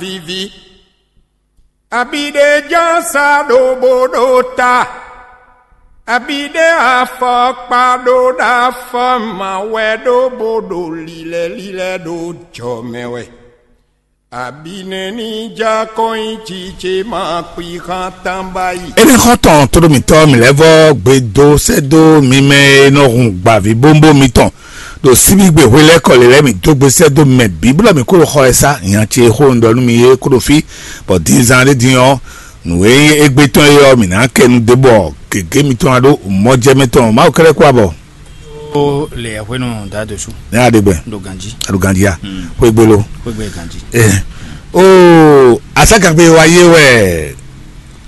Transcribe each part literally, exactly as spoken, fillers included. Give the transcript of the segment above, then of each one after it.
Vivi. Abi ɖé ján sa ɖo bó ɖo ta. Abi ɖé afɔkpa ɖo ɖo afɔ ma wɛ ɖó bó ɖo lilɛ lilɛ ɖo jɔ mɛ wɛ. Abi nɛ́ ní já kɔn nyi jijɛ ma kpi xán tán báyìí. Énɛ́ xɔ́n tɔn tóɖó mǐtɔn mǐ lɛ́ vɔ́ gbe dó sɛ́ dó mi mɛ e nɔ hun gbǎví bómbó mitɔn ɖo síbígbe hwe lɛ́ɛ kɔ lě lɛ́ɛ mǐ dó gbe sɛ́ dó mɛ bǐ bó ɖɔ mǐ kó ɖo xɔ ɛ sá. Nya ce e xó un ɖɔ nú mi é kó ɖo fí, bɔ din zán ɖé din ɔ́, nǔ e nyí égbé tɔn é ɔ́, mǐ ná kɛ nu dó bɔ gěgé mitɔn ná ɖó mɔjɛmɛ tɔn. Mawu kɛ́ɖɛ́ kú abɔ. Ó le hwenu da dosu. Ne a ɖe gbɛ. Ɖo ganji. A ɖo ganji ya. Xwégbé lo. Xwégbé ganji. Ɛ o aságangbe wa yé wɛ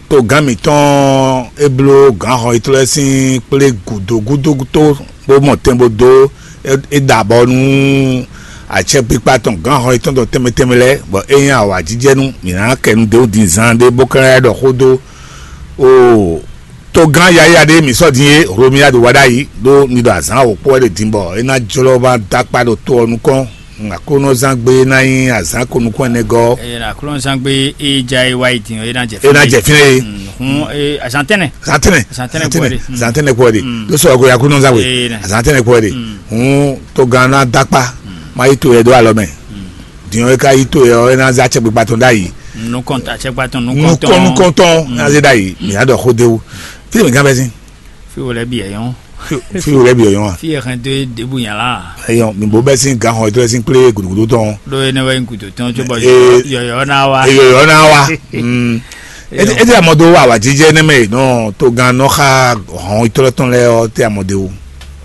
togán mǐtɔn é bló gǎnxɔ yětɔn lɛ́ɛ sín kplé gǔdo gúdo tó bó mɔ tɛn bó dó é da abɔ nú acɛkpikpa tɔn gǎnxɔ yětɔn tɔn tɛnmɛ tɛnmɛ lɛ́ɛ, bɔ é nyí awǎjijɛnú mǐ ná kɛ nu dó din zan ɖé bó ka lɛ́ ɖɔ xó dó o togán yayá ɖé mǐ sɔ́ din é Hlomia ɖo wa ɖ'ayǐ ɖó mi ɖo azǎn wǒkpó wɛ ɖe din bɔ é ná jlɔ́ ma dó akpá ɖo to ɔ́ nukɔn. Aklúnɔzán gbé ná nyí azǎn ko nukún ɛnɛ gɔ́. Eye na aklúnɔzán gbé e ja e wá yi din ɔ́, e na jɛ E ná jɛ fínɛ́ e. Hun e azan tɛnɛ. Zantɛnɛ. Zantɛnɛ kpɔ́ ɖe. Zantɛnɛ kpɔ́ ɖe. Ló sɔ ko yakúnɔzán gbé. Ee, na. Zantɛnɛ kpɔ́ ɖe. Hun togán ná dó akpá má yi to yɛ ɖó alɔ mɛ. Din ɔ́ e ka yi to yɛ ɔ́, e ná zá acɛkpikpa tɔn ɖ'ayǐ. Nukɔn acɛkpa tɔn nukɔn Nukɔn tɔn. Nukɔntɔn ná zé ɖ'ayǐ. Mǐ ná ɖɔ xó d'é wú. Fí mǐ gán bɛ́ sín. Fi wo lɛ bi yɛ yɔn. Fi wo lɛ bi yɔ yɔn a. Fi yɛ hɛn do e debu nya la. Eyɔn mi bo bɛ sín gan xɔ tɔlɛ sín kplé gudugudu tɔn. Ɖó énɛ́ wɛ nyí gǔdo tɔn cóbɔ Ee. Yɔyɔ ná wá. Eyɔ yɔ ná wa. Mm. Ete ete amɔ do wa wa jijɛ ne mɛ nɔ to gan nɔ xa hɔn tɔlɛ tɔn lɛ ɔ te amɔ de wo.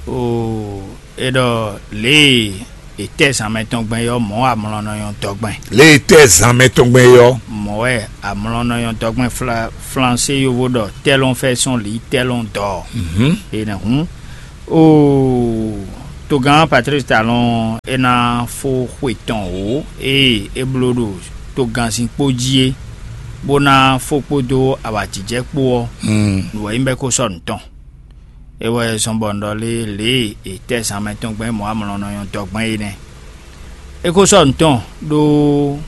O e ɖɔ lě e tɛ zan mɛ tɔn gbɛn yɔ mɔ amlɔ nɔ yɔn dɔ gbɛn. Lě e tɛ zan mɛ tɔn gbɛn yɔ. Mɔ wɛ amlɔ nɔ yɔn dɔ gbɛn fla flansé yovo ɖɔ tɛlɔn fɛ sɔn li tɛlɔn dɔ. Mhm. Enɛ hun. Oo, togán Patrice Talon é ná fó xwe tɔn wǒ ée é bló ɖo togánsin kpó jí é, bó ná fó kpódó awǎjijɛ kpó ɔ́, nǔ wɛ nyí bɔ é kó sɔ́ nǔ tɔn. É wɛ zɔn bɔ un ɖɔ lé lě e è tɛ́ zan mɛ tɔn gbɛn mɔ̌ amlɔ nɔ nyɔ́ dɔgbɛ́n é nɛ́. É kó sɔ́ nǔ tɔn ɖó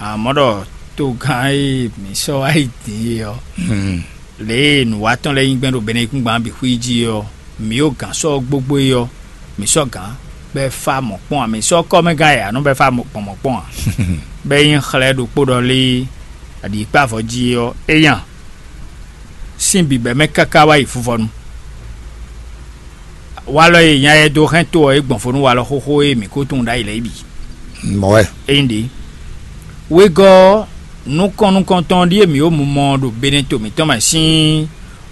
amɔ̌ ɖɔ togán e mǐ sɔ́ wá yi din é ɔ́, lě e nǔwatɔ́ lɛ́ɛ nyí gbɛn ɖo Benɛkúngban bǐ xwí jí ɔ́, mǐ ɖo gǎn sɔ́ gbogbo é ɔ́, mǐ sɔ́ gǎn bɔ é fá mɔ̌ kpɔ́n ǎ; mǐ sɔ́ kɔ́mɛgán e ǎ nɔ bɔ é fá gbɔn mɔ̌ kpɔ́n ǎ, bɔ é nyí xlɛ́ ɖokpó ɖɔ lé aɖǐkpavɔ jí é ɔ́, é nya sín bǐbɛ́ mɛ káká wá yi fuvɔnu. Walɔ e nya yɛ dó hɛn to ɔ́ é gbɔn fó nú walɔ xóxó e mǐ ko tunwun ɖ'ayǐ lɛ́ɛ bǐ. Mɔ̌ wɛ. Ényí ɖě, wegɔ́ ɔ́, nukɔn nukɔntɔn ɖíe mǐ ɖo mumɔ ɖo Benɛto mǐtɔn mɛ sín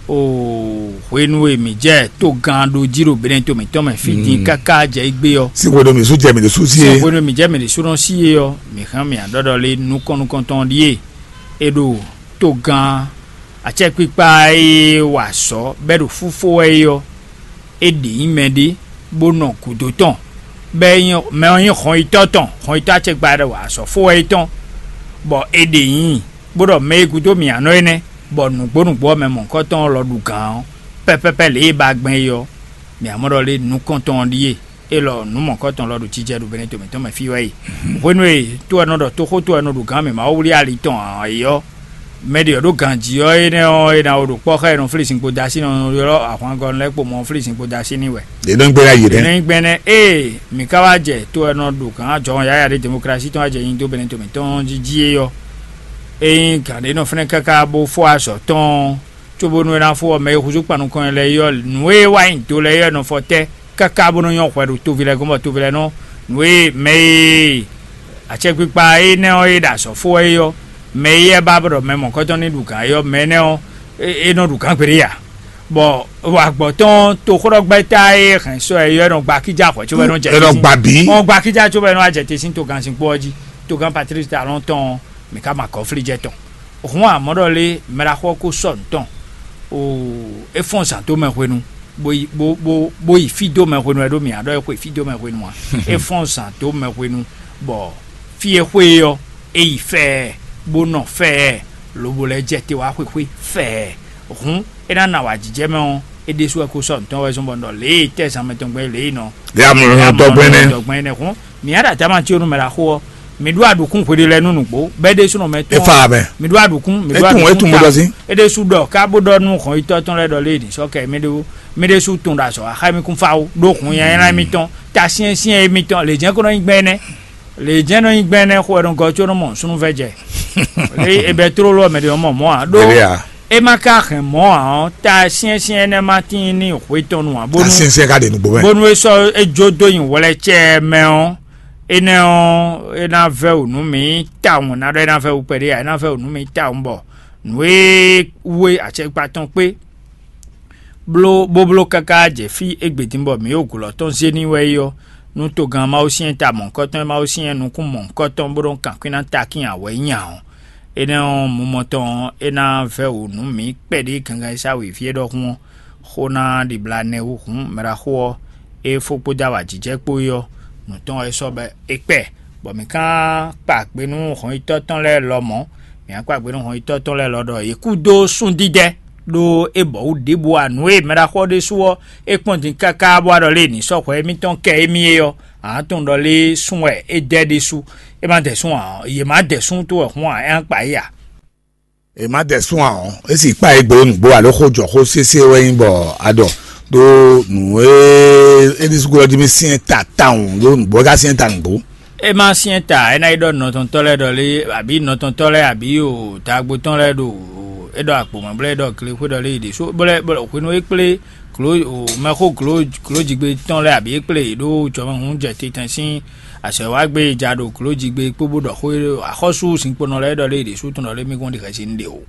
o hwenu e mǐ jɛ togán ɖó jí ɖo Benɛto mǐtɔn mɛ fí din káká jɛ égbé ɔ́. Sín hwenu mǐ sú jɛ mǐ ɖésú sí é. Sín hwenu mǐ jɛ mǐ ɖésúnɔ sí é ɔ́, mǐ hɛn mǐ adɔɖɔ lé nukɔn nukɔntɔn ɖíe è ɖo togán acɛkpikpa e wa azɔ̌ bɔ é ɖo fúfó wɛ é ɔ́, é ɖě nyí mɛɖé bó nɔ gǔdo tɔn, bɔ é nyí mɛ ɔ́ nyí hɔnyitɔ́ tɔn, hɔnyitɔ́ acɛkpikpa e wa azɔ̌ fó wɛ é tɔn, bɔ è ɖě nyí bó ɖɔ mɛ e gúdo mǐ ǎ nɔ énɛ́, bɔ nǔgbó nǔgbó ɔ́ mɛ mɔ̌hunkɔtɔn ɔ́ lɔ ɖu gǎn ɔ́, pɛ́pɛ́pɛ́ lě e ba gbɛn é ɔ́, mǐ ǎ mɔ ɖɔ lé nukɔntɔn ɔ́ ɖíe. Élɔ́ nǔ mɔ̌kɔtɔn lɔ ɖo jijɛ ɖo Benɛto mǐtɔn mɛ fí wɛ yi. Hwenu e to ɔ́ nɔ ɖɔ toxó to ɔ́ nɔ ɖo gǎn mǐ Mawu wlí ali tɔn ǎ é ɔ́, mɛ ɖě ɔ́ ɖo ganjí ɔ́ énɛ́ ɔ́, é ná wo ɖo kpɔ́ xá e nɔ flí zinkpo dó así nɔ ylɔ́ ahwangɔ́ lɛ́ɛ kpo mɔ flí zinkpo dó así n'i wɛ. Ɖě nɔ gbé ná yi Ɖě nɛ́. Nɔ nyí gbɛ́nɛ́ ée mǐ ka wá jɛ to ɔ́ nɔ ɖo gǎn jɔhɔn yáya ɖé demoklási tɔn wá jɛ nyi dó Benɛto mǐtɔn jí jí é ɔ́, é nyí gǎn ɖé nɔ fɛ́nɛ káká bó fó azɔ̌ tɔn ɔ́, cóbónú é ná fó ɔ́, mɛ e húzú kpan nukɔn lɛ́ɛ é ɔ́, nǔ e wá nyi do lɛ́ɛ é ɔ́ nɔ fɔ tɛ́ káká bó nɔ́ nyɔ́ hwɛ ɖo toví lɛ́ɛ gɔ́n, bɔ toví lɛ́ɛ nɔ nǔ e mɛ e acɛkpikpa énɛ́ ɔ́ e ɖo azɔ̌ fó wɛ é ɔ́, mɛ e yɛ ba ɖɔ mɛ mɔ̌kɔtɔn ní ɖu gǎn é ɔ́, mɛ énɛ́ ɔ́, é nɔ ɖu gǎn gbeɖé ǎ. Bɔ agbɔ̌ tɔn toxóɖɔgbɛ́ta e hɛn sɔ ɛ é ɔ́, é nɔ gba kíjá hwɛ cóbɔ é nɔ jɛ É nɔ gba bǐ. Ɔn gba kíjá cóbɔ é nɔ wá jɛ te sín togán sín kpó ɔ́ jí. Togán Patlísi Talɔ́n tɔn ɔ́, mǐ ka ma gɔ̌flí jɛ tɔn. Hǔn amɔ̌ ɖɔ lé mɛ ɖaxó ɔ́ ko sɔ́ nǔ tɔn, o é fɔ́n zǎn dó mɛ hwenu, bó yi bó bó bó yi fí dó mɛ hwenu wɛ ɖó mǐ ǎ ɖɔ é xwe fí dó mɛ hwenu ǎ. É fɔ́n zǎn dó mɛ hwenu, bɔ fí e xwe é ɔ́, é yi fɛ́ɛ, bó nɔ fɛ́ɛ, lobo lɛ́ jɛ te wá xwexwé fɛ́ɛ. Hǔn é ná nɔ awǎjijɛ mɛ ɔ́, é ɖésú wɛ ko sɔ́ nǔ tɔn wɛ zɔ́n bɔ un ɖɔ lě e tɛ́ zan mɛ tɔn gbɛn é lě e nɔ Lě amlɔ tɔn gbɛn nɛ́. Tɔn gbɛn énɛ́ hǔn mǐ ǎ ɖo adáma cí ó nú mɛ ɖaxó ɔ́, Mi ɖó aɖukún hweɖelɛnu nǔgbó, bɔ é ɖésúnɔ mɛ tɔn. E fa mɛ. Mi ɖó aɖukún, mi ɖó Etun, aɖukún etun ta. Mo ɖɔ sí. É ɖésú ɖɔ ká bó ɖɔ nú hɔn yitɔ́ tɔn lɛ́ɛ ɖɔ lé ɖi sɔ́ kɛ mi ɖó mi ɖésú tun ɖo azɔ̌ axá mi kún fá wú ɖó hun nyanya émítɔn ta syɛ́nsyɛ́n émítɔn lě jɛ́n kó nɔ nyí gbɛn énɛ́. Lě jɛ́n nɔ nyí gbɛn énɛ́ xo wɛ nɔ gɔ́ có nɔ mɔ súnnu vɛ́ jɛ. Lě e bɛ tlóló wɛ mɛ ɖě nɔ mɔ mɔ̌ ǎ ɖó. Bele a. É ma ka hɛn mɔ̌ ǎ ɔ́, ta syɛ́nsyɛ́n énɛ́ ma tíin ní hwe tɔn nu ǎ. Ta bónú syɛ́nsyɛ́n ka ɖe nǔgbó mɛ. Bónú é sɔ́ é jó dó nyi wlɛ́cɛ́ mɛ ɔ́, énɛ́ ɔ́, é ná vɛ́ wǔ nú mǐ tawun, ná ɖɔ é ná vɛ́ wǔ kpɛɖé ǎ, é ná vɛ́ wǔ nú mǐ tawun bɔ nǔ e wú e acɛkpa tɔn kpé bló bó bló káká jɛ fí égbé din bɔ mǐ ɖo gǔlɔ tɔn zé n'i wɛ é ɔ́, nú togán Mawu syɛ́n ta mɔ̌hunkɔtɔn e Mawu syɛ́n nukún mɔ̌hunkɔtɔn bó ɖó kankwín ná takín ǎ wɛ é nyí ǎ ɔ́, énɛ́ ɔ́, mumɔ tɔn ɔ́, é ná vɛ́ wǔ nú mǐ kpɛɖé gangan e sá wěví é ɖɔhun ɔ́, xó ná ɖibla nɛ́ wú hǔn mɛɖaxó ɔ́, é fó kpódó awǎjijɛ kpó é ɔ́, nǔ tɔn wɛ é sɔ́ bɔ é kpɛ, bɔ mǐ ka kpa gbe nú hɔnyitɔ́ tɔn lɛ́ɛ lɔmɔ̌. Mǐ ka kpa gbe nú hɔnyitɔ́ tɔn lɛ́ɛ lɔ ɖɔ yě kú dó súndídɛ́, ɖó é bɔ wǔ ɖěbǔ ǎ. Nǔ e mɛɖaxó ɔ́ ɖésú ɔ́, é kpɔ́n din káká bó wá ɖɔ lé ní sɔ́ hwɛ émítɔn kɛ émí é ɔ́, ǎ tɔn ɖɔ lé sún wɛ é dɛ ɖésú. É má dɛ sún ǎ ɔ́, yě má dɛ sún tó wɛ hǔn ǎ, é ná kpa yí ǎ. È má dɛ sún ǎ ɔ́, é sì kpa é gbe nǔgbó alo xó jɔ xó sésé wɛ nyí bɔ a ɖɔ ɖó nǔ e é ɖésú glɔ́ jí mì syɛ́n ta tawun ɖó nǔgbó é ka syɛ́n ta nǔgbó. É má syɛ́n ta, é ná yi ɖɔ nɔtɔntɔ́ lɛ́ɛ ɖɔ lé, abǐ nɔtɔntɔ́ lɛ́ɛ abǐ o, dagbo tɔn lɛ́ɛ ɖo é ɖɔ akpǒ mɛ blɛ́ é ɖɔ glexwé ɖɔ lé yi ɖě sú bó lɛ́ bó lɛ́ hwenu e kplé glo o mɛxó glo glojigbe tɔn lɛ́ɛ abǐ é kplé yě ɖó jɔmɛhún jɛ titɛn sín azɔ̌ e wá gbé e ja ɖo glojigbe kpó bó ɖɔ xó e axɔ́sú zinkponɔ lɛ́ɛ ɖɔ lé yi ɖě sú tɔn ɖɔ lé mí kún ɖi xɛsi nú ɖě o.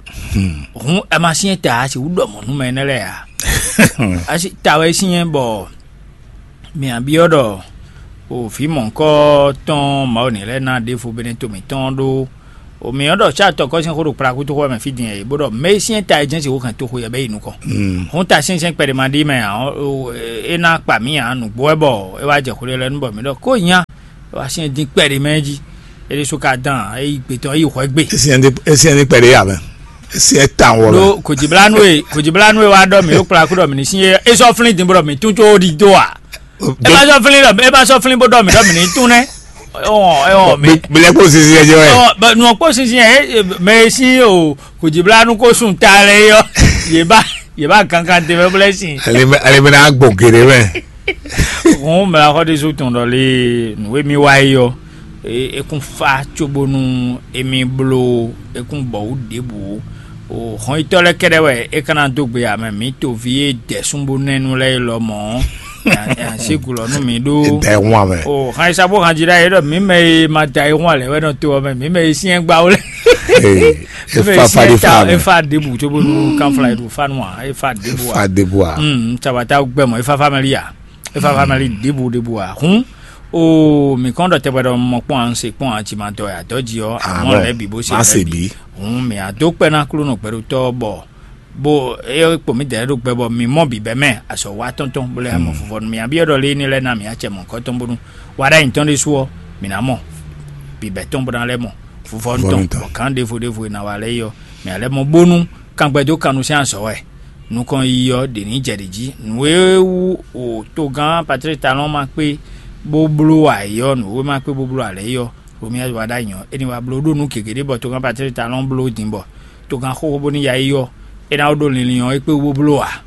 Hǔn ɛ ma syɛ́n ta a sixú ɖɔ mɔ̌ nú mɛ énɛ́ lɛ́ɛ ǎ. A si ta wɛ é syɛ́n bɔ mǐ byɔ́ ɖɔ o vǐ mɔ̌hunkɔ tɔn Mawu ní lɛ́ɛ ná ɖěvo bɛ́ nɛ́ to mǐtɔn ɖó o mǐ ɔ́ ɖɔ cá tɔkɔ́ sín xó ɖo kplakútoxo wɛ mɛ fí din ɛ bó ɖɔ mɛ e syɛ́n ta e jɛ́n sixú hɛn toxo yɛ bɛ́ yi nukɔn. Hǔn ta syɛ́nsyɛ́n kpɛɖé ma ɖi mɛ ǎ ɔ́, é ná kpa mǐ ǎ nǔgbó wɛ bɔ é wá jɛ xwle lɛ́ɛ nu bɔ mǐ ɖɔ kó nya é wá syɛ́n dín kpɛɖé mɛ jí. É ɖésú ka dán é yi gbe tɔn é yi hwɛ gbe. Esi ɛni esi ɛni kpɛɖé yà mɛ. Esi ɛta wɔ mɛ. Ɖó kòjìblánú e kòjìblánú e wá ɖɔ mǐ ɖo kplakú ɖɔ mǐ ní sín é é sɔ́ flín din bó ɖɔ mǐ tún có ɖi dó a. É má sɔ́ flín ɖɔ é má sɔ́ flín bó ɖɔ mǐ ɖɔ mǐ ní tún nɛ́. Ɔn ɛ ɔn mǐ. Bilɛ kó sisi ɛ jɛ wɛ. Ɔ bɛ nɔ kpó sinsin ɛ mɛ e sín o kòjìblánú kó sun ta lɛ yɔ yě bá yě bá kankan te mɛ blɛ sin. Ale bɛ ale bɛ n'a gbɔ geɖe mɛ. Hɔn mɛ axɔ ɖésú tɔn ɖɔ lé nǔ e mì wá yi ɔ. E kún fa cóbónú émí bló e kún bɔ wǔ ɖěbǔ o hɔnyitɔ́ lɛ́ɛ kɛ́ɖɛ́ wɛ é ka ná dó gbe amɛ mǐ toví e dɛ̌ súnbónɛ́nu lɛ́ɛ é lɔ mɔ̌. Sígulɔ nú mǐ ɖó. Dɛ hun amɛ. O hanyisa bó hanji ɖ'ayǐ ɖɔ mǐ mɛ e ma da ayǐ hun alɛ wɛ nɔ to ɔ́ mɛ mǐ mɛ e syɛ́n gbá wó lɛ. Ee, efa fa ɖi fa amɛ. Efa ɖěbǔ cóbónú kanfla e ɖo fa nú a efa ɖěbǔ a. Fa ɖěbǔ a. Sabata gbɛ mɔ efa famɛli a. Efa famɛli ɖěbǔ ɖěbǔ a hun. O mǐ kɔn ɖɔ tɛgbɛ ɖɔ mɔ kpɔn a un se kpɔn a ci ma dɔ ya dɔ ji ɔ amɔ lɛ bi bó se má se lɛ bi. Bi. Hun mǐ a dó kpɛ ná klúnɔ gbɛɖotɔ́ bɔ bó é kpo mǐ dɛ̌ ɖo gbɛ bɔ mǐ mɔ bǐbɛ́ mɛ azɔ̌ wa tɔn tɔn bó lɛ́ mɔ fufɔnu mǐ a byɔ́ ɖɔ lé ní lɛ́ ná mǐ acɛ mɔ̌hunkɔtɔn bónú wa ɖ'ayǐ tɔn ɖésú ɔ́ mǐ ná mɔ bǐbɛ́ tɔn bó ná lɛ́ mɔ fufɔnu tɔn. Fufɔnu tɔn. Bɔ gǎn ɖěvo ɖěvo e ná wa lɛ́ɛ é ɔ́ mǐ a lɛ́ mɔ bónú kangbɛ dó kan nú sɛ́n azɔ̌ wɛ nukɔn yiyi ɔ́ ɖě ní jɛ ɖě jí nǔ e wú o togán Patlík Talɔn ma kpé bó bló ayǐ ɔ́ nǔ e ma kpé bó bló alɛ é ɔ́ Romiɛ wa ɖ'ayǐ ɔ́ é ní wá bló ɖó nǔ gěgé ɖé bɔ togán Patlík Talɔn bló din bɔ togán xóxó bó ní ya yi ɔ́ é ná wó ɖó linlin ɔ́ é kpé wú bó bló ǎ.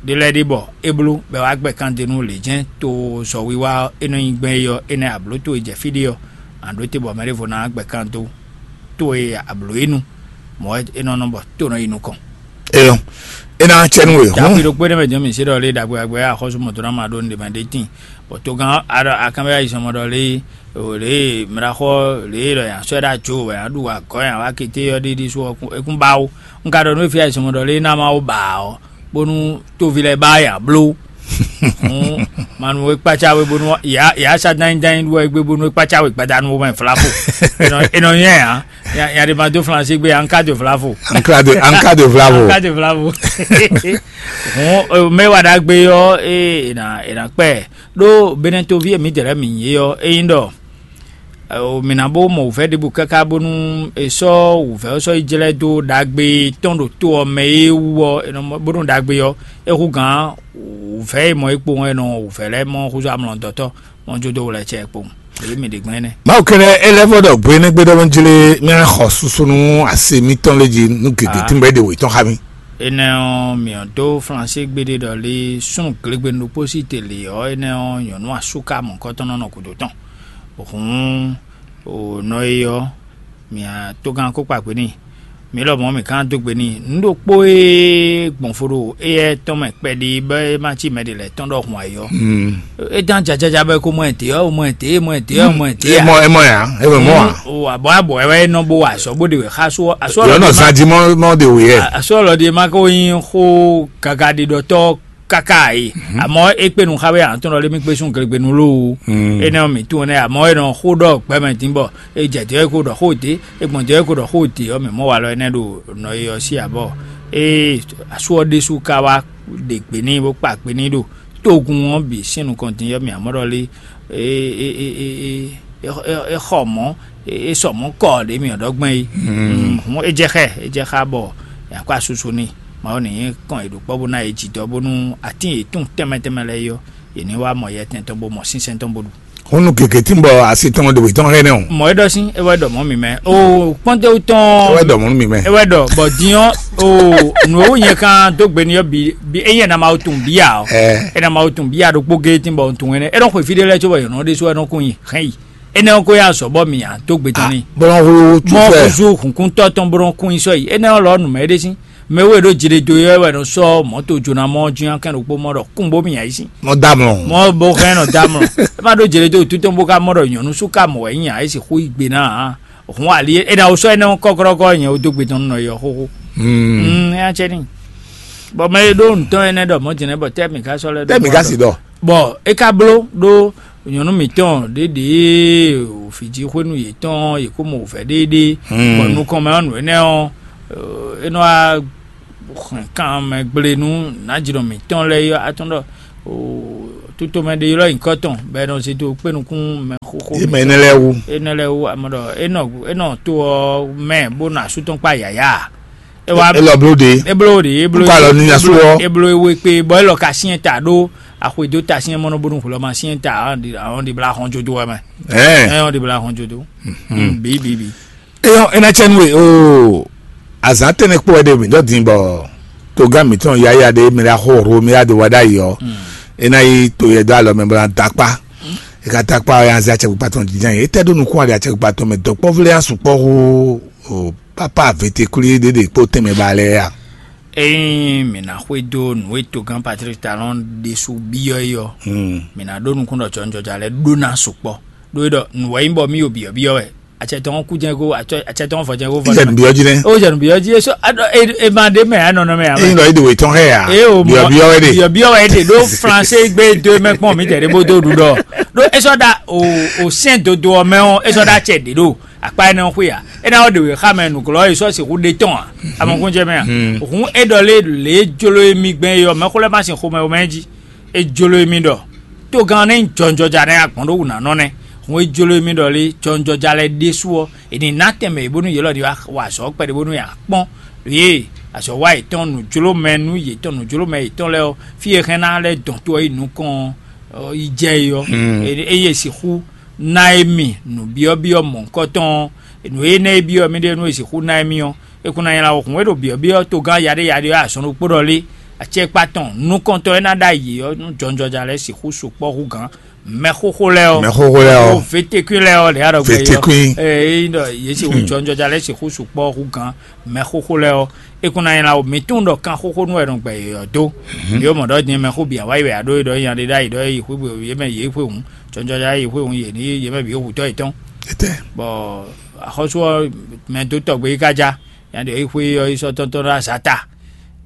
Ɖé lɛ́ɛ ɖé bɔ é bló bɔ é wá gbɛ kan d'é nú lě jɛ́n to zɔ̌wiwa ɔ́ é nɔ nyi gbɛn é ɔ́ énɛ́ ablǒ towe jɛ fí ɖé ɔ́, a ɖǒ te bɔ mɛ ɖěvo ná gbɛ kan dó towe ablǒ é nu, mɔ̌ wɛ é nɔ nɔ bɔ tó nɔ yi nukɔn. Eyɔn, é ná cɛ nú we. Ɖaxwi ɖokpó ɖé mɛ jɔn mǐ se ɖɔ lé ɖagbe agbe axɔ́sú mɔ̌ dó ná ma ɖó nǔɖé mɛ ɖé tíin. Bɔ togán aɖɔ akanbɛ ayizɔnmɔ ɖɔ lé o lě e mlaxɔ lě e ɖɔ yǎ sɔ́ ɛ ɖo ajo wɛ yǎ ɖu agɔ̌ yǎ wá kété ɔ́ ɖi ɖi sú ɔ́ é kún ba ó. Un ka ɖɔ nú éfia yi sɔmɔ ɖɔ lé ná má wó ba ɔ́ bónú tóvi lɛ́ɛ ba yǎ bló. Hǔn manu é kpácá we bónú yǎ yǎ sa dányi dányi ɖu wɛ gbé bónú é kpácá we gbadanu mɛ flafo. Enɔ enɔ nyɛ ya ya ya ɖe ma dó flansi gbé anka de flafo. Anka de anka de flavo. Anka de flafo. Hǔn mɛ wa ɖagbe ɔ́ é ena ena kpɛ ɖó benɛtovi e mǐdɛɛ lɛ́ɛ mǐ nyí é ɔ́ é nyí ɖɔ mǐ ná bó mɔ wǔvɛ́ ɖěbǔ káká bónú è sɔ́ wǔvɛ́ ɔ́ sɔ́ yi jlɛ́ dó ɖagbe tɔn ɖo to ɔ́ mɛ é wú ɔ́, bónú ɖagbe ɔ́, é hú gǎn wǔvɛ́ e mɔ é kpowun é nɔ wǔvɛ́ lɛ́ɛ mɔ húzú amlɔdɔtɔ́ mɔ jó dó wlɛ́ cɛ kpowun. Èyí mi ɖe gbɛn nɛ. Mawu kɛnɛ, é lɛ́ vɔ ɖɔ gbé nɛ́ gbé ɖɔ jlé mía xɔ susu nú asi mitɔn lé jí nú gěgé tí mo bɛ ɖe wě tɔn xá mi. Énɛ́ ɔ́, mǐ ɔ́ dó Flansé gbéɖé ɖɔ lé súnnu glégbenu ɖokpó sí te lě ɔ́, énɛ́ ɔ́, nyɔ̌nu asúká mɔ̌kɔtɔn nɔ nɔ gǔdo tɔn. Hǔn, o nɔ e ɔ́, mǐ tógán ko kpa kpé n'i. Mǐ lɔmɔ̌ mǐ ka ná dó gbe n'i. Nǔ ɖokpó e gbɔn fo ɖo éyɛ́ tɔn mɛ kpɛɖi bɔ é ma cí mɛ ɖě lɛ́ɛ tɔn ɖɔhun ayǐ ɔ́, é dán jajaja bɔ é ko mɔ ɛ dě ɔ́, mɔ ɛ dě, mɔ ɛ dě ɔ́, mɔ ɛ dě ɛ mɔ ɛ mɔ ya, é mɔ mɔ a. O abɔ abɔ ɛ wɛ nɔ bo wa azɔ bó de wɛ xa so aso yɔ nɔ zan di mɔ mɔ de wò yɛ. Aso ɔlɔdi ma ko yin xó gaga ɖi ɖɔtɔ kaka yi. Amɔ é kpé nu xa wɛ an tɔn ɖɔ lé mi kpé sun glegbenu loo. Énɛ́ ɔ́ mǐ tunwun nɛ amɔ é nɔ xó ɖɔ gbɛmɛ dín bɔ é jɛ dě ɔ́ é ko ɖɔ xó dě, é gbɔn dě ɔ́ é ko ɖɔ xó dě ɔ́ mǐ mɔ walɔ énɛ́ ɖo nɔ e ɔ́ sí abɔ. Ée asu ɔ́ ɖésú ka wá ɖe gbe n'i bó kpa gbe n'i ɖo togun ɔ́ bǐ sín nukɔn din ɔ́ mǐ amɔ ɖɔ lé. É xɔ mɔ̌, é sɔ mɔ̌ kɔ ɖě mǐ ɔ́ ɖɔ gbɛn é. Hǔn é jɛ xɛ é jɛ xá bɔ è nǎ kó asusu n'i. Mawu ní nyí kɔn è ɖo kpɔ́ bó ná yě jǐdɔ́ bónú atín yětɔn tɛnmɛ tɛnmɛ lɛ́ɛ yɔ, yě ní wá mɔ yɛtɛn tɔn bó mɔ sínsɛ́n tɔn bó ɖu. Húnnu gěgé tí ń bɔ asi tɔn ɖo wětɔn hɛn nɛ́ o. Mɔ̌ é ɖɔ sín é wá ɖɔ mɔ̌ mi mɛ o kpɔ́ndéwú tɔn. É wá ɖɔ mɔ̌ mi mɛ. É wá ɖɔ bɔ din ɔ́ o nǔ e wú nyɛ kan dó gbe n'i ɔ́ bǐ bǐ é nyɛ ná ma wo tunwun bíyà ɔ́. Ɛ. É ná ma wo tunwun bíyà ɖokpó géé tí ń bɔ tunwun ɛnɛ é nɔ xwe fí ɖé lɛ́ɛ có bɔ yɔ̌nɔ ɖésú wɛ nɔ kún nyi hɛn yi. Énɛ́ ɔ́ ko yá azɔ̌ bɔ mǐ nya dó gbe tɔn n'i. Bɔlɔn hwlóhwló tú mɔ fɛ. Kuzu hǔnkúntɔ́ tɔn bó nɔ kún nyi sɔ́ yi énɛ́ ɔ́ lɔ nǔ mɛ é ɖe sín. Mɛ wé ɖó jiɖedo yɔ́ wɛ nɔ sɔ́ mɔ̌to jóná mɔ ɔ́ jínjɔ́n kɛn ɖokpó mɔ ɖɔ kún bó mì ayí sín. Mɔ da mlɔ. Mɔ bó hɛn nɔ da mlɔ. É ma ɖó jiɖedo wútu tɔn bó ka mɔ ɖɔ nyɔ̌nu sú ka mɔ wɛ nyí ǎ é sixú yi gbe ná ǎ. Hǔn ali é ɖa wó sɔ́ énɛ́ ɔ́ kɔ́kɔ́kɔ́ nyɛ wó dó gbe tɔn nɔ yɔ xóxó. Mm, é nya cɛ ní. Bɔ mɛ e ɖó nǔtɔn énɛ́ ɖɔ mɔ̌ din nɛ́ bɔ tɛ́ mǐ ka sɔ́ lɛ́ ɖó Tɛ́ mǐ ka si ɖɔ. Bɔ é ka bló ɖó nyɔ̌nu mǐtɔn ɖěɖě fǐjí xwénu yětɔn yě kó mɔ wǔvɛ́ ɖéeɖée. Bɔ nukɔn mɛ ɔ́ nǔ énɛ́ ɔ́ é nɔ wá hɛn kan mɛ gblé nú nǎjínɔ mǐtɔn lɛ́ɛ yɔ atɔ́n ɖɔ tótomɛ ɖé ylɔ́ nyǐkɔ tɔn bɔ è nɔ zé dó kpé nukún mɛ xóxó Yé mɛ énɛ́ lɛ́ɛ wú. Énɛ́ lɛ́ɛ wú amɔ ɖɔ é nɔ é nɔ to ɔ́ mɛ bó nɔ asú tɔn kpá yǎyá. É wá É lɔ bló ɖe. É bló ɖe é bló Kpá lɔ ní asú ɔ́. É bló é wé kpé bɔ é lɔ ka syɛ́n ta ɖó axwedó ta syɛ́n mɔnɔ bónú hwlɔ́ ma syɛ́n ta àwọn ɖi àwọn ɖi bla xɔn jodo wɛ mɛ. Ɛɛ. Ɛ ɔn ɖi bla xɔn jodo. Bi bi bi. Eyɔ ena tsɛ nue o azan tɛnɛ kpɔ wɛ ɖe mi dɔ din bɔ togán mitɔn yaya ɖe mi la xo ro mi la do wa ɖ'ayǐ ɔ ena yi to yɛ do alɔ mɛ bɔ na da kpa eka da kpa ɔ ya zɛ atsɛkpikpa tɔn jinjan yi etɛ ɖo nukun ali atsɛkpikpa tɔn mɛ dɔkpɔvlɛ ya sukpɔ xo o papa vetekuli ɖe ɖe kpo tɛmɛ ba lɛ ya. Ényí mǐ ná xwedó nǔ e togán Patrík Talɔn ɖésú byɔ́ é ɔ́, mǐ ná ɖó nukún ɖɔ jɔnjɔja lɛ́ɛ ɖó ná sukpɔ́. Ɖó é ɖɔ nǔ wɛ nyí bɔ mì yo byɔ̌byɔ́ wɛ. Acɛ tɔn kú jɛ́n kó acɛ tɔn fɔ jɛ́n kó fɔ. Ìjẹ̀nu byɔ́ jí nɛ́. Ó jẹ̀nu byɔ́ jí é sɔ́ é ma ɖé mɛ anɔnɔ mɛ ǎ. Eyín lɔ é ɖe wòye tɔn xɛ yà. Eye o mɔ Byɔ̌byɔ́ wɛ ɖe. Byɔ̌byɔ́ wɛ ɖe ɖó Flansé gbé dó mɛ kpɔn mǐ tɛ ɖé bó dó ɖu ɖɔ ɖó é sɔ́ ɖa o o sɛn dodo ɔ mɛ ɔ́ é sɔ́ ɖa acɛ ɖě ɖo akpa énɛ́ ɔ́ xwé ǎ. Énɛ́ ɔ́ ɖe wě xa mɛ nǔglɔ́ e sɔ́ sixú ɖe tɔn ǎ. Amɔkúnjɛ mɛ a? Hǔn é ɖɔ lé lě e jló émí gbɛn é ɔ́, mɛxó lɛ́ɛ ma sin xomɛ wɛ mɛ jí. É jló émí ɖɔ tógán nɛ́ nyí jɔnjɔja nɛ́ agbɔ̌n ɖó wǔnánɔ nɛ́. Hǔn é jló émí ɖɔ lé jɔnjɔja lɛ́ɛ ɖésú ɔ́, è nǐ ná tɛnmɛ yě bónú yě lɔ ní wá wa azɔ̌ kpɛɖé bónú è nǎ kpɔ́n ɖě e azɔ̌ wa yětɔn nǔjlómɛ nú yětɔn nǔjlómɛ yětɔn lɛ́ɛ ɔ́, fí e hɛn ná lɛ́ dɔn tó ɔ́ yi nukɔn ɔ́ yi jɛ é ɔ́, eye è sixú ná émì nǔbyɔ́byɔ́ mɔ̌hunkɔtɔn ɔ́, nǔ énɛ́ e byɔ́ mì ɖe nú è sixú ná émì ɔ́, é kún ná nylá wǔ hǔn é ɖo byɔ̌byɔ́ togán yaɖéyaɖé ɔ́ azɔn ɖokpó ɖɔ lé, acɛkpa tɔn nukɔntɔn e ná ɖó ayǐ ɔ́ nú jɔnjɔja lɛ́ɛ sixú sukpɔ́ hú gǎn. Mɛxoxo lɛ́ɛ ɔ́, Mɛxoxo lɛ́ɛ ɔ́. Vetekui lɛ́ɛ ɔ́ lě aɖɔ gbɛ Vetekui. Eye ɖɔ yě sixú jɔnjɔja lɛ́ɛ sixú sukpɔ́ hú gǎn. Mɛxoxo lɛ́ɛ ɔ́, é kún ná nylá wǔ. Mǐ tunwun ɖɔ kanxoxo nú wɛ nɔ gbɛ yě ɔ́ dó. Mǐ ó mɔ ɖɔ din mɛxó bǐ wá yi wɛ aɖó é ɖɔ nya ɖé ɖ'ayǐ ɖɔ é yi xwé yě mɛ yě xwé hǔn, jɔnjɔja é yi xwé hǔn yě ní yě mɛ bǐ ó hutɔ́ yětɔn. Etɛ. Bɔ axɔ́sú ɔ́ mɛ dó tɔgbe yi ká já, nya ɖě yi xwé ɔ́ yi sɔ́ tɔ́ntɔ́n ɖó azǎ ta.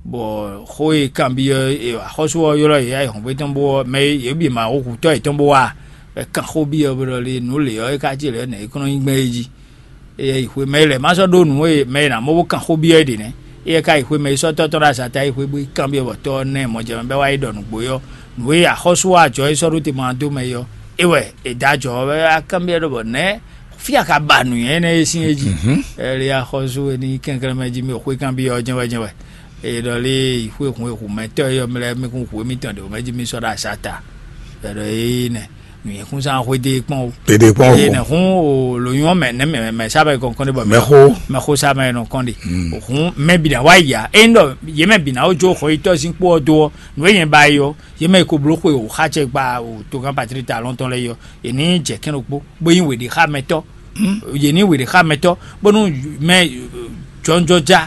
Bɔ xó e kanbyɔ́ axɔ́sú ɔ́ ylɔ́ yě ayǐhɔ́ngbe tɔn bó ɔ́ mɛ e yě bǐ ma xó hutɔ́ yětɔn bó wá, bɔ é kan xó byɔ́ bó ɖɔ lé nǔ lě ɔ́ é ká cí lɛ̌ nɛ̌ é kɔn nɔ nyí gbɛn é jí. Éyɛ́ yi xwé mɛ e lɛ̌ ma sɔ́ ɖó nǔ e mɛ e nǎ mɔ bó kan xó byɔ́ é ɖě nɛ́. Éyɛ́ ka yi xwé mɛ e sɔ́ tɔ́ tɔn ɖo azǎn ta yi xwé bó yi kanbyɔ́ bɔ tɔ́ ɔ́ ná ɛ mɔjɛmɛ bɔ é wá yi ɖɔ nǔgbó é ɔ́, nǔ e axɔ́sú ɔ́ ajɔ é sɔ́ ɖó te ma dó mɛ é ɔ́, é wɛ è dó ajɔ ɔ́ wɛ wá kanbyɔ́ ɖɔ bɔ nɛ̌ fí a ka ba nǔnywɛ́ énɛ́ e sín é jí? Ɛli axɔ́sú e ní kɛnklɛ́n mɛ jí mì xwé kanbyɔ́ ɔ́ jɛ́n wɛ jɛ́n wɛ. È ɖɔ lé yi xwé hun e hu mɛtɔ́ é ɔ́ mɛ lɛ́ɛ mì kún hu émítɔn ɖě mɛ jí mì sɔ́ ɖo azǎn ta. È ɖɔ éé nɛ́. nǔnyɛkúnzán xwedé kpɔn o. Tete kpɔn o. Eye nɛ hún o lǒnyɔ́ mɛ nɛ mɛ mɛ sá bɛ kɔnkɔn ɖe bɔ mɛ xo mɛ xo sá mɛ nɔ kɔn ɖe. Hún mɛ bǐ ná wá yi ya. Ényí ɖɔ yě mɛ bǐ ná wó jó xɔ yítɔ́ sín kpó ɔ́ dó ɔ́, nǔ e nyɛ ba yi ɔ́, yě mɛ e ko bló xwe o xá cɛ gba o togán Patlík Talɔn tɔn lɛ́ɛ yi ɔ́, yě ní jɛ kɛ́n ɖokpó bó nyí wěɖexámɛtɔ́. Yě ní wěɖexámɛtɔ́ bónú mɛ jɔnjɔja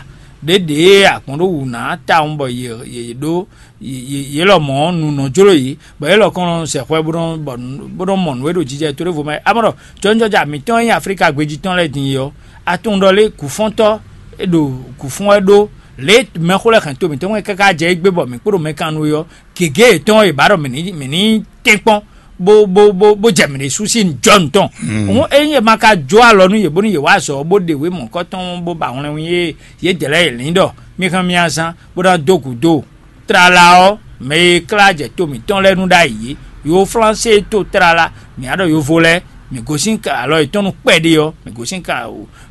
ɖě ɖě agbɔ̌n ɖó wǔ ná tawun bɔ yě yě ɖó yě lɔmɔ̌ nǔ nɔ jló yě, bɔ yě lɔ kɔn nɔ sɛ xwɛ bó nɔ bɔ bó nɔ mɔ nǔ e ɖo jijɛ to ɖěvo mɛ. Amɔ̌ ɖɔ jɔnjɔja mǐtɔn e nyí Aflíka gbejí tɔn lɛ́ɛ din é ɔ́, a tunwun ɖɔ lé gǔfɔ́ntɔ́ e ɖo gǔfɔ́n wɛ ɖó lě mɛxó lɛ́ɛ hɛn to mǐtɔn mɛ káká jɛ égbé bɔ mǐ kpo ɖo mɛ kan nú é ɔ́, gěgé yětɔn e ba ɖɔ mǐ ní mǐ ní tɛ́nkpɔ́n bó bó bó bó jɛ mǐ ɖésú sín jɔnu tɔn. Hǔn ényí è ma ka jó alɔ nú yě bónú yě wá azɔ̌ bó ɖe wě mɔ̌kɔ́ tɔn bó ba hwlɛnwín e yědɛɛ lɛ́ɛ yě lín ɖɔ mí hɛn mì azán bó ná dó gǔdo. Tlala ɔ́, mɛ e klá jɛ to mǐtɔn lɛ́ɛ nu ɖ'ayǐ é, yo Flánse to tlala, mǐ á ɖɔ yovo lɛ́ɛ, mǐ gosín alɔ yětɔn nú kpɛɖé ɔ́, mǐ gosín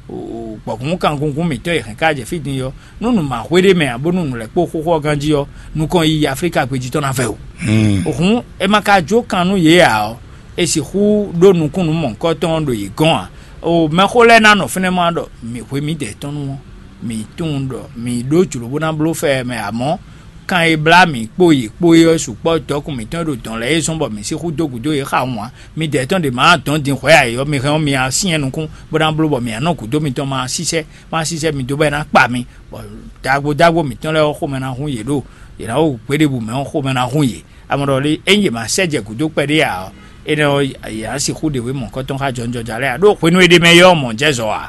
gbɔ̌kún kangungun mǐtɔn e hɛn ká jɛ fí din ɔ́, nú nǔ ma xwé ɖé mɛ ǎ bónú nǔ lɛ́ kpó xóxó ɔ́ ganjí ɔ́, nukɔn yiyi Aflíka gbejí tɔn ná vɛ o. Hǔn è ma ka jó kan nú yě ǎ ɔ́, è sixú ɖó nukúnnú mɔ̌hunkɔtɔn ɖo yě gɔ́n ǎ. O mɛxó lɛ́ɛ ná nɔ fínɛ́ mɔ ɖɔ mǐ hwe mǐdɛɛ tɔn nu ɔ́, mǐ tunwun ɖɔ mǐ ɖó jlǒ bó ná bló fɛ ɛ mɛ, amɔ̌ kan e blá mǐ kpó yě kpó é ɔ́ sukpɔ́ dɔ̌kun mǐtɔn e ɖo dɔ̌n lɛ́ɛ é zɔ́n bɔ mǐ sixú dó gǔdo yě xawun ǎ. Midɛɛ tɔn ɖě ma dɔn din hwɛ̌ ǎ é ɔ́, mi hɛn ɔ́, mi ná syɛ́n nukún bó ná bló bɔ mǐ ná nɔ gǔdo mitɔn ma sísɛ́, ma sísɛ́ mi dó bɔ é ná kpa mi, bɔ ɖagbo ɖagbo mǐtɔn lɛ́ɛ ɔ́ xomɛ ná hun yě ɖo yě ná wo gběɖebǔ mɛ ɔ́ xomɛ ná hun yě. Amɔ̌ ɖɔ lé, ényí yě ma sɛ́ jɛ gǔdo kpɛɖé ǎ ɔ́, énɛ́ ɔ́, yě ná sixú ɖe wě mɔ̌kɔ́tɔn xá jɔnjɔja lɛ́ɛ ǎ, ɖó hwenu e ɖ'é mɛ é ɔ́, mɔ̌ jɛ zɔ ǎ.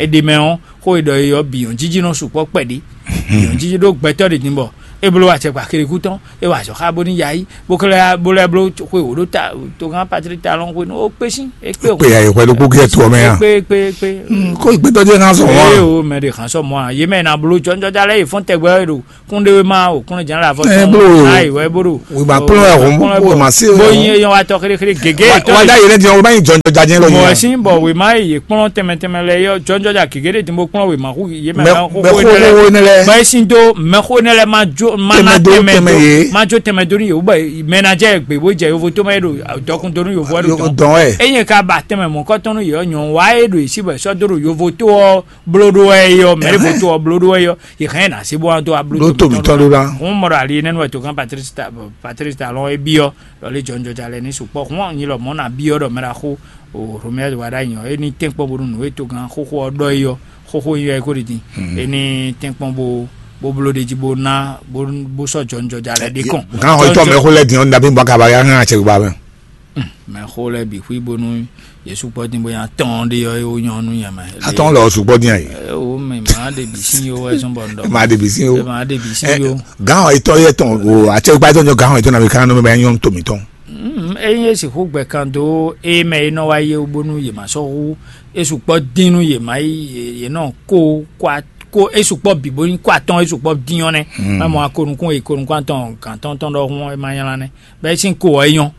É ɖ'é mɛ ɔ́, xó e ɖɔ é ɔ́ bǐ nyɔ̌jiji nɔ sukpɔ́ kpɛɖé. Bǐ nyɔ̌jiji ɖó gbɛtɔ́ ɖě din bɔ é bló acɛkpa xilekú tɔn, é wa azɔ̌ xá bónú ya yi, bó ka lɛ́ bó lɛ́ bló xwe wǒ ɖó ta togán Patlík Talɔn hwenu ó kpé sín, é kpé Kpé ya yi hwɛ ɖokpó kí ɛ tu ɔmɛ ya. Kpé kpé kpé. Kó gbɛtɔ́ jẹ́ ká sɔn wọn. Eye o mɛ ɖe hàn sɔ mɔ a yé mɛ na bló jɔnjɔja lɛ́ɛ yi fɔ́n tɛgbɛ ɖo kúnɖéwéma o kúnɖéjǎn la fɔ Ɛ, tɔn bló o. Ayi wɛ bó ɖo. Wìmá kplɔ́n wɛ hɔn bó ma se bó o. Yin eyɔn wa tɔ xéléxélé gégé Wa- tɔn. Wa dá yé lɛ diɛ o bá yin jɔnjɔja jɛ lɔ Mɔ yin. Ɛsin bɔ wìmá yi kplɔ́n tɛmɛ tɛmɛ lɛ yɔ jɔnjɔja gégé ɖe din bó kplɔ́n wìmá hu yé mɛ Mɛ- mɛ xóxó mɛ énɛ́ lɛ. Xóxó énɛ́ lɛ. Bɔ Ɛsin dó mɛ xó énɛ́ lɛ ma jó ma ná Tɛmɛ dó, tɛmɛ tɛmɛ dó yé. Ma jó tɛmɛ dó ní yé wú bɔ mɛ ná jɛ gbé bó jɛ yovo tó mɛ ɖo dɔkun dó ní yovo wɛ ɖo Yo- dɔn. Dɔn wɛ. Enye ka ba tɛmɛ mɔkɔtɔn ní yɔ nyɔn wa e ɖo esi bɔ sɔ dó ɖo yovo tó ɔ bló ɖó wɛ yɔ mɛ ɖe vo tó ɔ bló ɖó wɛ yɔ yɛ hɛn na se bó wá dó a bló Ɖó tó mǐtɔn ɖó ɖá. Hún mɔ ɖo ali nɛnu wɛ tó kan Patrice Ta- Patrice Talon e biɔ lɔ lé jɔnjɔja lɛ ní sukpɔ hún nyi lɔ mɔ na biɔ ɖɔ mɛ ɖa xó o Romuald Wadagni ɔ e ní tɛnkpɔ bónú nǔ e tó kan xóxó ɔ ɖɔ yi ɔ xóxó yi ɔ e kó ɖi din e ní tɛnkpɔ bó bó bló ɖe jí bó ná bó bó sɔ jɔnjɔja lɛ ɖe kɔn. Gán xɔ itɔ mɛ xó lɛ dín ɔn dabi bɔ kaba ya hàn àtsɛ gba mɛ. Mɛ xó lɛ bǐ xwí bónú Yesu kpɔ dín bó nya tɔn ɖe ɔ e wó nyɔ nú nyɛ mɛ. Atɔn lɔ sugbɔ dín ayi. O mɛ ma ɖe bǐ sín yo wɛ zɔn bɔ ŋdɔ. Ma ɖe bǐ sín yo. Ma ɖe bǐ sín yo. Gán xɔ itɔ yɛ tɔn o àtsɛ gba itɔ nyɔ gán xɔ itɔ na mi kan nɔ mɛ nyɔ to mi tɔn. Eye sixú gbɛ kan dó eye mɛ e nɔ wá yé bónú yě ma sɔ́ hú e sukpɔ́ dín nú yě ma yí yě nɔ kó kó e sukpɔ́ bǐ bó nyí kó atɔn e sukpɔ́ dín ɔ́ nɛ́. Má mɔ akonukún e konukún atɔn gǎn tɔn tɔn ɖɔhun ɔ́ e ma nylá nɛ́ bɔ é sín ko ɔ́ é nyɔ́.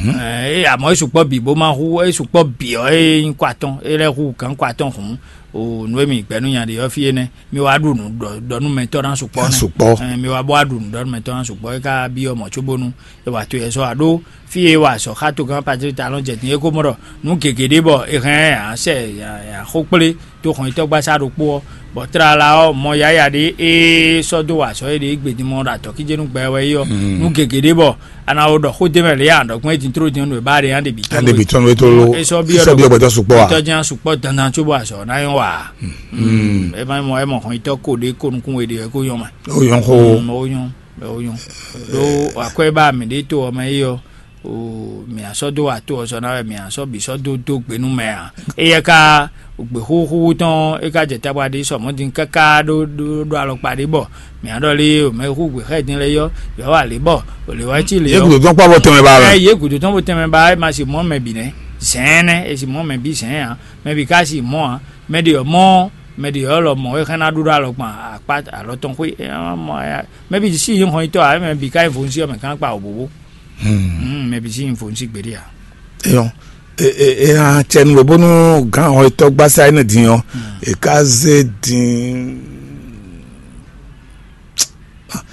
Ɛ, amɔ̌ e sukpɔ́ bǐ bó ma hú e sukpɔ́ bǐ ɔ́ e nyí kó atɔn e lɛ́ hú gǎn kó atɔn hǔn o nǔ e mì gbɛ̌ nú nya ɖe ɔ́ fí énɛ́ mi wá ɖu nǔ ɖɔ ɖɔ nú mɛ tɔ́ ná sukpɔ́ nɛ́. Sukpɔ́. Ɛ, mi wá bó wá ɖu nǔ ɖɔ nú mɛ tɔ́ ná sukpɔ́ é ka byɔ́ mɔ̌ cóbónú e wa to yɛ sɔ́ aɖó fí e wa sɔ xá togán Patlík Talɔn jɛ din é ko mɔ ɖɔ nǔ gěgé ɖé bɔ è hɛn axó kplé tó xɔnyitɔ́gbasá ɖokpó ɔ́, bɔ tlala ɔ́ mɔ yáya ɖé e sɔ́ dó wa azɔ̌ e ɖe gbedin mɔ ɖo atɔ̌kíjénú gbɛ wɛ é ɔ́, nǔ gěgé ɖé bɔ a nǎ wo ɖɔ xó d'é mɛ lě a ɖɔ gbɔn é din tló din nú è bá ɖe nya ɖe bǐ tɔn Ande bi tɔn we to lo. E sɔ bi Sɔ bi ɔgbɛtɔ sukpɔ a. Tɔn jɛn sukpɔ dandan tso bɔ azɔ na yɔn wa. E ma mɔ e mɔ xɔnyitɔ ko ɖe ko nukun we ɖe ko yɔn ma. O yɔn xo. O yɔn o yɔn. Ɖo akwɛ ba mi ɖe to ɔmɛ yi ɔ. O mi asɔ do ato ɔsɔ na wɛ mi asɔ bi sɔ do do gbenu mɛ a. Eyɛ ka gbe xúxú tɔn e ka jɛ tabwa ɖi sɔmɔ din kaka ɖo ɖo ɖo alɔkpa ɖi bɔ mi aɖɔ li o mɛ xú gbe xɛ din lɛ yɔ yɔ wa li bɔ o li wa ci li Ye yɔ. Gudu tɔn kpɔ bɔ tɛmɛ ba Ɛ mɛ. Ye gudu tɔn bo tɛmɛ ba e ma si mɔ mɛ bi nɛ zɛn nɛ e si mɔ mɛ bi zɛn a mɛ bi ka si mɔ a mɛ de yɔ mɔ mɛ de yɔ lɔ mɔ e xɛn na ɖu ɖo alɔ gban akpa alɔ tɔn xwe e ma mɔ ya mɛ bi si yi hɔn itɔ a mɛ bi ka yi vo si ɔ mɛ kan kpa o bobo. Hmm, mɛ bi si yi vo si gbeɖe a. Eyɔn. E e e hã tsɛ nu bónú gán xɔ etɔ́ gbásá énɛ́ din ɔ́ e ka zé din.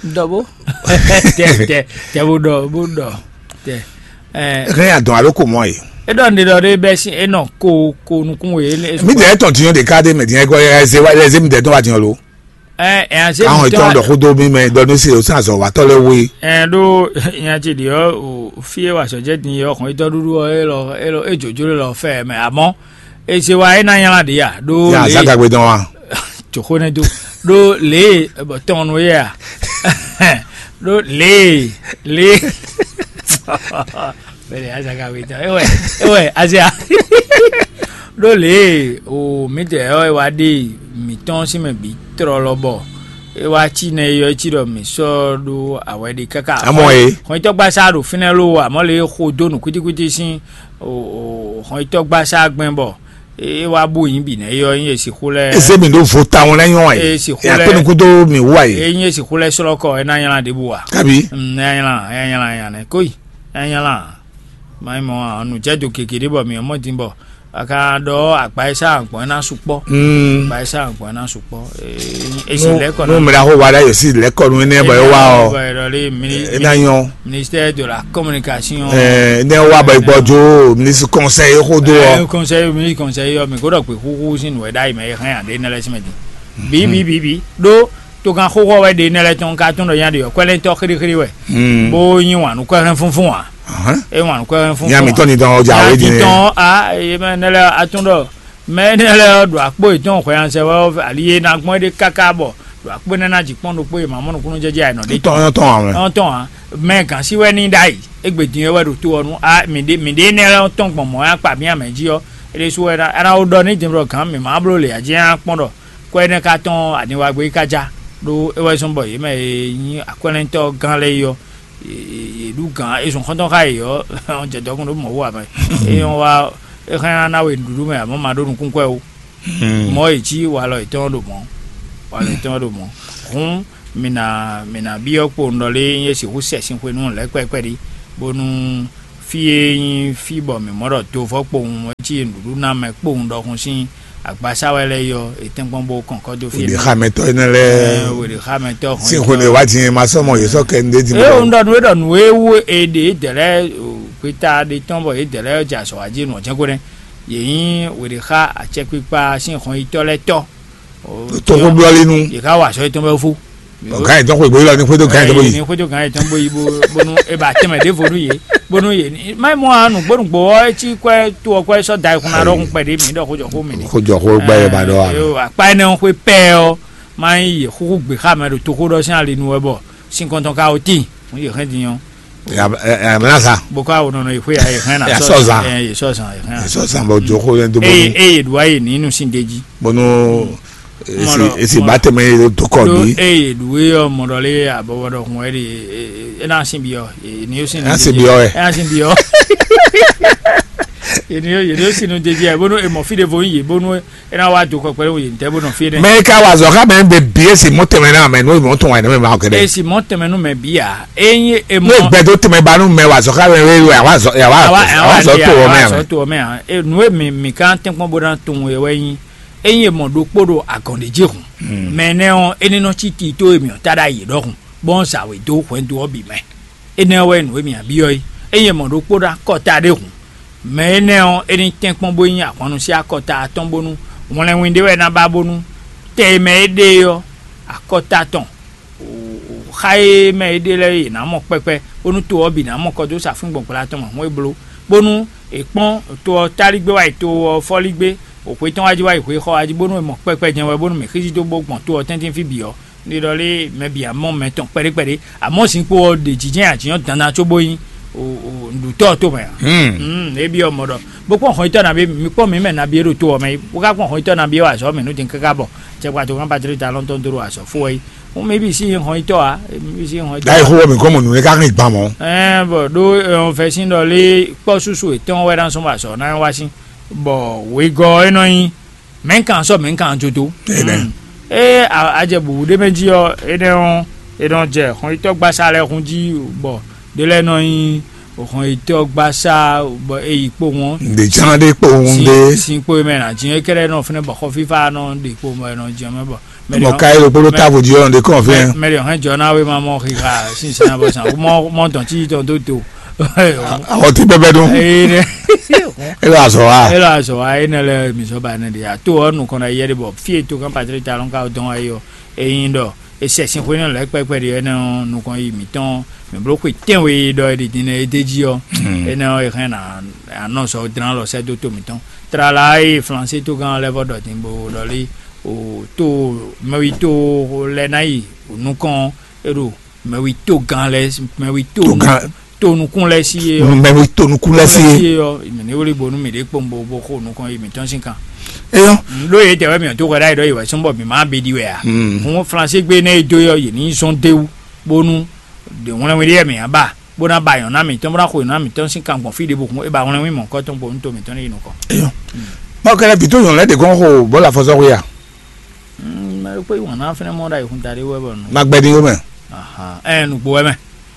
Dɔ bo. Tɛ tɛ tɛ bo dɔ bo dɔ tɛ. Hɛn adɔn alo ko mɔ ye. E ɖɔ nɖe ɖɔ ɖe bɛ sin e nɔ ko ko nukun we. Mi dɛ tɔn tiɲɔ de ka de mɛ diɲɛ kɔ ɛ ze wa ɛ ze mi dɛ tɔn wa tiɲɔ lo. Ɛ ɛ ase mi tɔn dɔ xo do mi mɛ dɔ ne se o san zɔ wa tɔ lɛ wo ye. Ɛ ɖo nya ce ɖi ɔ o fi e wa sɔ jɛ din yɔ xɔn itɔ ɖuɖu ɔ e lɔ e lɔ e jojo lɔ fɛ mɛ amɔ e se wa e na nyala ɖi ya ɖo ya le. Azagagbe dɔn wa. Joxo ne do ɖo le bɔ tɔn nu ye a ɖo le le. Bɛlɛ azaka wetɔ ewɛ ewɛ azia. Ɖó lě e o mǐdɛɛ ɔ́ e wá ɖe mǐtɔn sín mɛ bǐ tlɔlɔ bɔ é wá cí nɛ é yɔ é cí ɖɔ mǐ sɔ́ ɖó awɛ ɖé káká. Amɔ e. Xɔnyitɔ́gbasá ɖo fínɛ́ ló amɔ̌ lě e xo dó nǔ kwítíkwítí sín o xɔnyitɔ́gbasá gbɛn bɔ é wá bú yǐ bǐ nɛ́ é yɔ é nyí e sixú lɛ́ɛ. Eze mi ɖo vo tawun lɛ́ nyɔ́ wá e. E sixú lɛ́ akpé nukúndó mi wú wá e. É nyí e sixú lɛ́ɛ slɔ́ kɔ é ná nylá ɖěbǔ a. Kabi. Ná nylá ná nylá nya nɛ kóyi ná nylá. Mayi mɔ nǔjɛdo gěgé ɖé bɔ mǐ mɔ din bɔ a ka ɖɔ agba e sá agbɔn ná sukpɔ. Agba e sá agbɔn ná sukpɔ. Esi lɛ́ kɔ nú mìɖa xó wa ɖa yǒ sí lɛ́ kɔ nú énɛ́ bɔ é wá ɔ. É ná nyɔ́. Ministère de la communication. Ɛ ne wa bɔ gbɔ jo ministre conseil xó do ɔ. Conseil ministre conseil yɔ mi kó ɖɔ pé xúxú sín nǔ wɛ ɖ'ayǐ mɛ é hɛn aɖé nɛ lɛ́ sí mɛ din. Bí bí bí bí ɖó tokan xóxó wɛ ɖe nɛ lɛ́ tɔn ka tún ɖɔ nya ɖe ɔ kwɛlɛntɔ xíríxírí wɛ. Bó nyi wǎn nú kwɛhɛn fúnfún wǎn. É wǎn nú kwɛhɛn fúnfún. Nya mi tɔn ni dɔn ɔjà wé din. Tɔn a yé mɛ nɛ lɛ atún ɖɔ mɛ nɛ lɛ ɖo akpó yětɔn hwɛ ansɛ wɛ ali yé ná gbɔn é ɖe káká bɔ ɖo akpó nɛ ná jǐ kpɔn ɖokpó yé má mɔ nukúnnú jɛjɛ àyìnɔ ɖé tɔn. Tɔn tɔn a mɛ gǎn sí wɛ ní ɖ'ayǐ. Égbé din é wɛ ɖo to ɔ́ nú a mǐɖé mǐɖé nɛ lɛ tɔn gbɔn mɔ̌ ya kpa mì amɛ jí ɔ́. É ɖésú wɛ ná ná wó ɖɔ ní din ɖɔ gǎn mǐ má bló lě ǎ jí nya kpɔn ɖɔ kɔ énɛ́ ka tɔn aniwagbé ka ja ɖó é wɛ zɔ́n bɔ yě mɛ e nyí akwɛ́nɛtɔ́ gán lɛ́ɛ é ɔ́, yě ɖu gǎn é zɔn xɔ́ntɔn xá yě ɔ́ jɛ dɔkun ɖó mɔ̌ wú ǎ mɛ. É nyɔ́ wá é hɛn ná ná we nǔɖuɖu mɛ amɔ̌ ma ɖó nukún kwɛ ó. Mɔ̌ è cí walɔ yětɔn ɖo mɔ̌, walɔ yětɔn ɖo mɔ̌. Hǔn mǐ ná mǐ ná byɔ́ kpowun ɖɔ lé nyɛ sixú sɛ sin xwe nú lɛ̌ kpɛ́kpɛ́ ɖi, bónú fí e nyí fí bɔ mǐ mɔ ɖɔ dovɔ́ kpowun wɛ cí nǔɖuɖu ná mɛ kpowun ɖɔhun sín agbasá wɛ lɛ́ɛ yɔ è tɛ́nkpɔ́n bó kɔn kɔ́ dó fí. Wěɖexamɛtɔ́ énɛ́ lɛ́ɛ wěɖexamɛtɔ́ sín xwe nú e wá din e ma sɔ́ mɔ yě sɔ́ kɛ ndé din. É un ɖɔ nǔ e ɖɔ nǔ e wú è ɖe dɛ̌ lɛ́ɛ gbeta ɖe tɔn bɔ yě dɛ̌ lɛ́ɛ jɛ azɔ̌ wá jí nǔ ɔ́ jɛ́n ko nɛ́. Yě nyí wěɖexa acɛkpikpa sín hɔnyitɔ́ lɛ́ɛ tɔ́. Toxóblɔ́línú. Yě ká wa azɔ̌ yětɔn bɛ́ fó. Gǎn yětɔn xwegbe élɔ́ ní xwedó gǎn yětɔn bó yi. Ní xwedó gǎn yětɔn bó yi bó bónú é ba tɛnmɛ ɖěvo nú yě bónú yě ní má mɔ anu gbónúgbò ɔ́ é cí kwɛ́ tó ɔ́ kwɛ́ sɔ́ da ayikún ná ɖɔhun kpɛɖé mǐ ɖɔ xójɔxó mǐ ní. Xójɔxó gbá yɛ ba ɖɔ a. Akpa énɛ́ ɔ́ xwé pɛ́ ɔ́ má nyí yě xúxú gbě xá mɛ ɖo toxó ɖɔ sín ali nu wɛ bɔ sín kɔntɔn ka ó tíin. Yě hɛn din ɔ́. Yàmínà sa. Bó ká wò nɔnɔ ìxwé yà yè hɛn na. Yà sɔ zan. Yè sɔ zan yè hɛn na. Yè sɔ zan bɔ jɔ xó yẹn tó bónú. Eye eye ɖu ayi ní inú sin deji. Bónú esi esi bá tɛmɛ yé tó kɔ bí. Eye ɖu yé ɔ mɔdɔ lé abɔbɔ dɔ hun ɛdi. Ena sin bi ɔ. Ena sin bi ɔ ɛ. Ena sin bi ɔ. Yeni yeni sin nu deji ɛ bónú emɔ fi de vo yin yé bónú ena wa do kɔkpɛ wo yeni tɛ bónú fi de. Mɛ ka wa zɔ ká mɛ bɛ bi esi mɔ tɛmɛ na mɛ n'o mɔ tɔn wa ne mɛ ma kɛ dɛ. Esi mɔ tɛmɛ nu mɛ bi a. Enyi emɔ. N'o gbɛ do tɛmɛ ba nu mɛ wa zɔ ká mɛ wɛ wɛ awa zɔ awa zɔ to wɔ mɛ a. Sɔ to wɔ mɛ a. E nu e mi mi kan tɛnkpɔn bó na tun wɛ wɛ nyi. Enyi emɔ ɖokpó ɖo agɔn ɖe jí hun. Mɛ nɛ ɔ eni nɔ tsi ti to emi ɔ ta ɖa yi ɖɔhun bɔn sa wɛ do hwɛndo ɔ bi mɛ. Enɛ wɛ nu emi abiɔ yi. Enyi emɔ ɖokpó ɖo akɔta ɖe hun. Mɛ énɛ́ ɔ́, é ní tɛ́nkpɔ́n bó nyí ahwannu sín akɔta atɔ́ɔ́n bónú wlɛnwin ɖé wɛ é ná ba bónú tɛ e mɛ é ɖe é ɔ́, akɔta tɔn xa e mɛ é ɖe lɛ́ɛ é ná mɔ kpɛkpɛ, bónú to ɔ́ bǐ ná mɔ kɔ dó sa fíngbɔn gbla tɔn mɛ hɔn é bló, bónú è kpɔ́n to ɔ́ táligbé wá yi to ɔ́ fɔ́ligbé, xwe tɔn wá jí wá yi xwe xɔ wá jí, bónú è mɔ kpɛkpɛ jɛ́n wɛ, bónú mǐ xízí dó bó gbɔn to ɔ́ tɛ́ntin fí bǐ ɔ́, Ní ɖɔ lé mɛ bǐ amɔ mɛ tɔn kpɛɖé kpɛɖé, amɔ̌ zinkpo ɔ́ ɖe jǐjɛ́n ajǐnyɔ́ dandan cóbó nyí nǔɖutɔ́ ɔ́ tomɛ ǎ. Ebyɔ́ mɔ ɖɔ bó kpɔ́n hɔnyitɔ́ nabí mi kpɔ́n mǐ mɛ nabí e ɖo to ɔ́ mɛ é, bó ka kpɔ́n hɔnyitɔ́ nabí e wa azɔ̌ mɛ nú din káká bɔ cɛkpa tó kán Patlík Talɔn tɔn dó ɖo azɔ̌ fó wɛ é. Hǔn mi bǐ sí nyí hɔnyitɔ́ ǎ, mi sí nyí hɔnyitɔ́. Dayi xó wɔ mǐ kɔn mɔ nǔ nɛ́ ká hɛn gban mɔ̌. Ɛɛ bɔ ɖó ɔnfɛ sín ɖɔ lé kpɔ́ súsú yětɔn wɛ ná sɔ́ bɔ azɔ̌ ná wá sín, bɔ wegɔ́ ɔ́ é nɔ nyí mɛ̌ kan sɔ́ mɛ̌ kan jodo. Ée a jɛ bǔbú ɖé mɛ jí ɔ́, énɛ́ ɔ́, è nɔ jɛ hɔnyitɔ́gbasá lɛ́ɛ hun jí bɔ ɖé lɛ́ɛ nɔ nyí hɔnyitɔ́gbasá bɔ é yi kpowun ɔ́. Ǹdè ján ɖé kpowun ɖé. Sin kpo mɛ nǎ jǐ é kɛ́ɖɛ́ nɔ fínɛ́ bɔ xɔ fífá nɔ ɖe kpo mɛ nɔ jǐ ɔ́ mɛ bɔ. Mɔ ka é ɖokpó ɖó távo jí ɔ́, ǹdè kɔn fínɛ́. Mɛ ɖě hɔn jɔ ná wé ma mɔ xixa sínsɛ́n bɔ sàn mɔ mɔ dɔn tí tɔn dó do. Awɔ ti bɛbɛ dun. Ee, e lɔ azɔ wa. Elo azɔ wa ene lɛ mi zɔ ba ne de ya to ɔ nukɔn na yɛ de bɔ fie to kan patri ta lɔn ka dɔn ayi ɔ eyin dɔ esɛ sin xwe ne lɛ kpɛkpɛ de ɛnɛ nukɔn yi mitɔn mi blo xwe tɛn we dɔ e de din ne e de ji ɔ ene ɔ e hɛn na anɔ sɔ dran lɔ sɛ do to mitɔn trala e flanse to kan lɛ vɔ dɔ din bo dɔ li o to mɛwi to lɛ na yi nukɔn e ɖo mɛwi to gan lɛ mɛwi to Togan. To nukún lɛ sí ye ɔ Mɛ mi to nukún lɛ sí ye. Ye ɔ mɛ ní wuli bonu mi ɖe kpɔn bo bo xo nukɔn yi mi tɔn sin kan Eyɔ. Ɖo ye tɛ wɛ mi ɔ to hwɛ ɖa yi ɖɔ yi wɛ sɔn bɔ mi ma be ɖi wɛ a Hmm. Hun flanse gbe ne do yɔ yi ni zɔn dewu bonu de ŋlɛ wi ɖe yɛ mi aba bona ba yɔn na mi tɔn bona xo yɔn na mi tɔn sin kan gbɔn fi ɖe bo hun e ba ŋlɛ wi mɔ kɔ tɔn bo nu to mi tɔn ne yi nukɔ. Eyɔ. Mawu kɛlɛ bi to yɔn lɛ de gɔn xo bɔ la fɔsɔ xo ya. Mɛ kpé wọn náà fɛnɛ mɔ ɖa ìhun taɖé wɛ bɔ nù. Magbɛdin yó mɛ. Ahan, ɛ nugbo wɛ mɛ.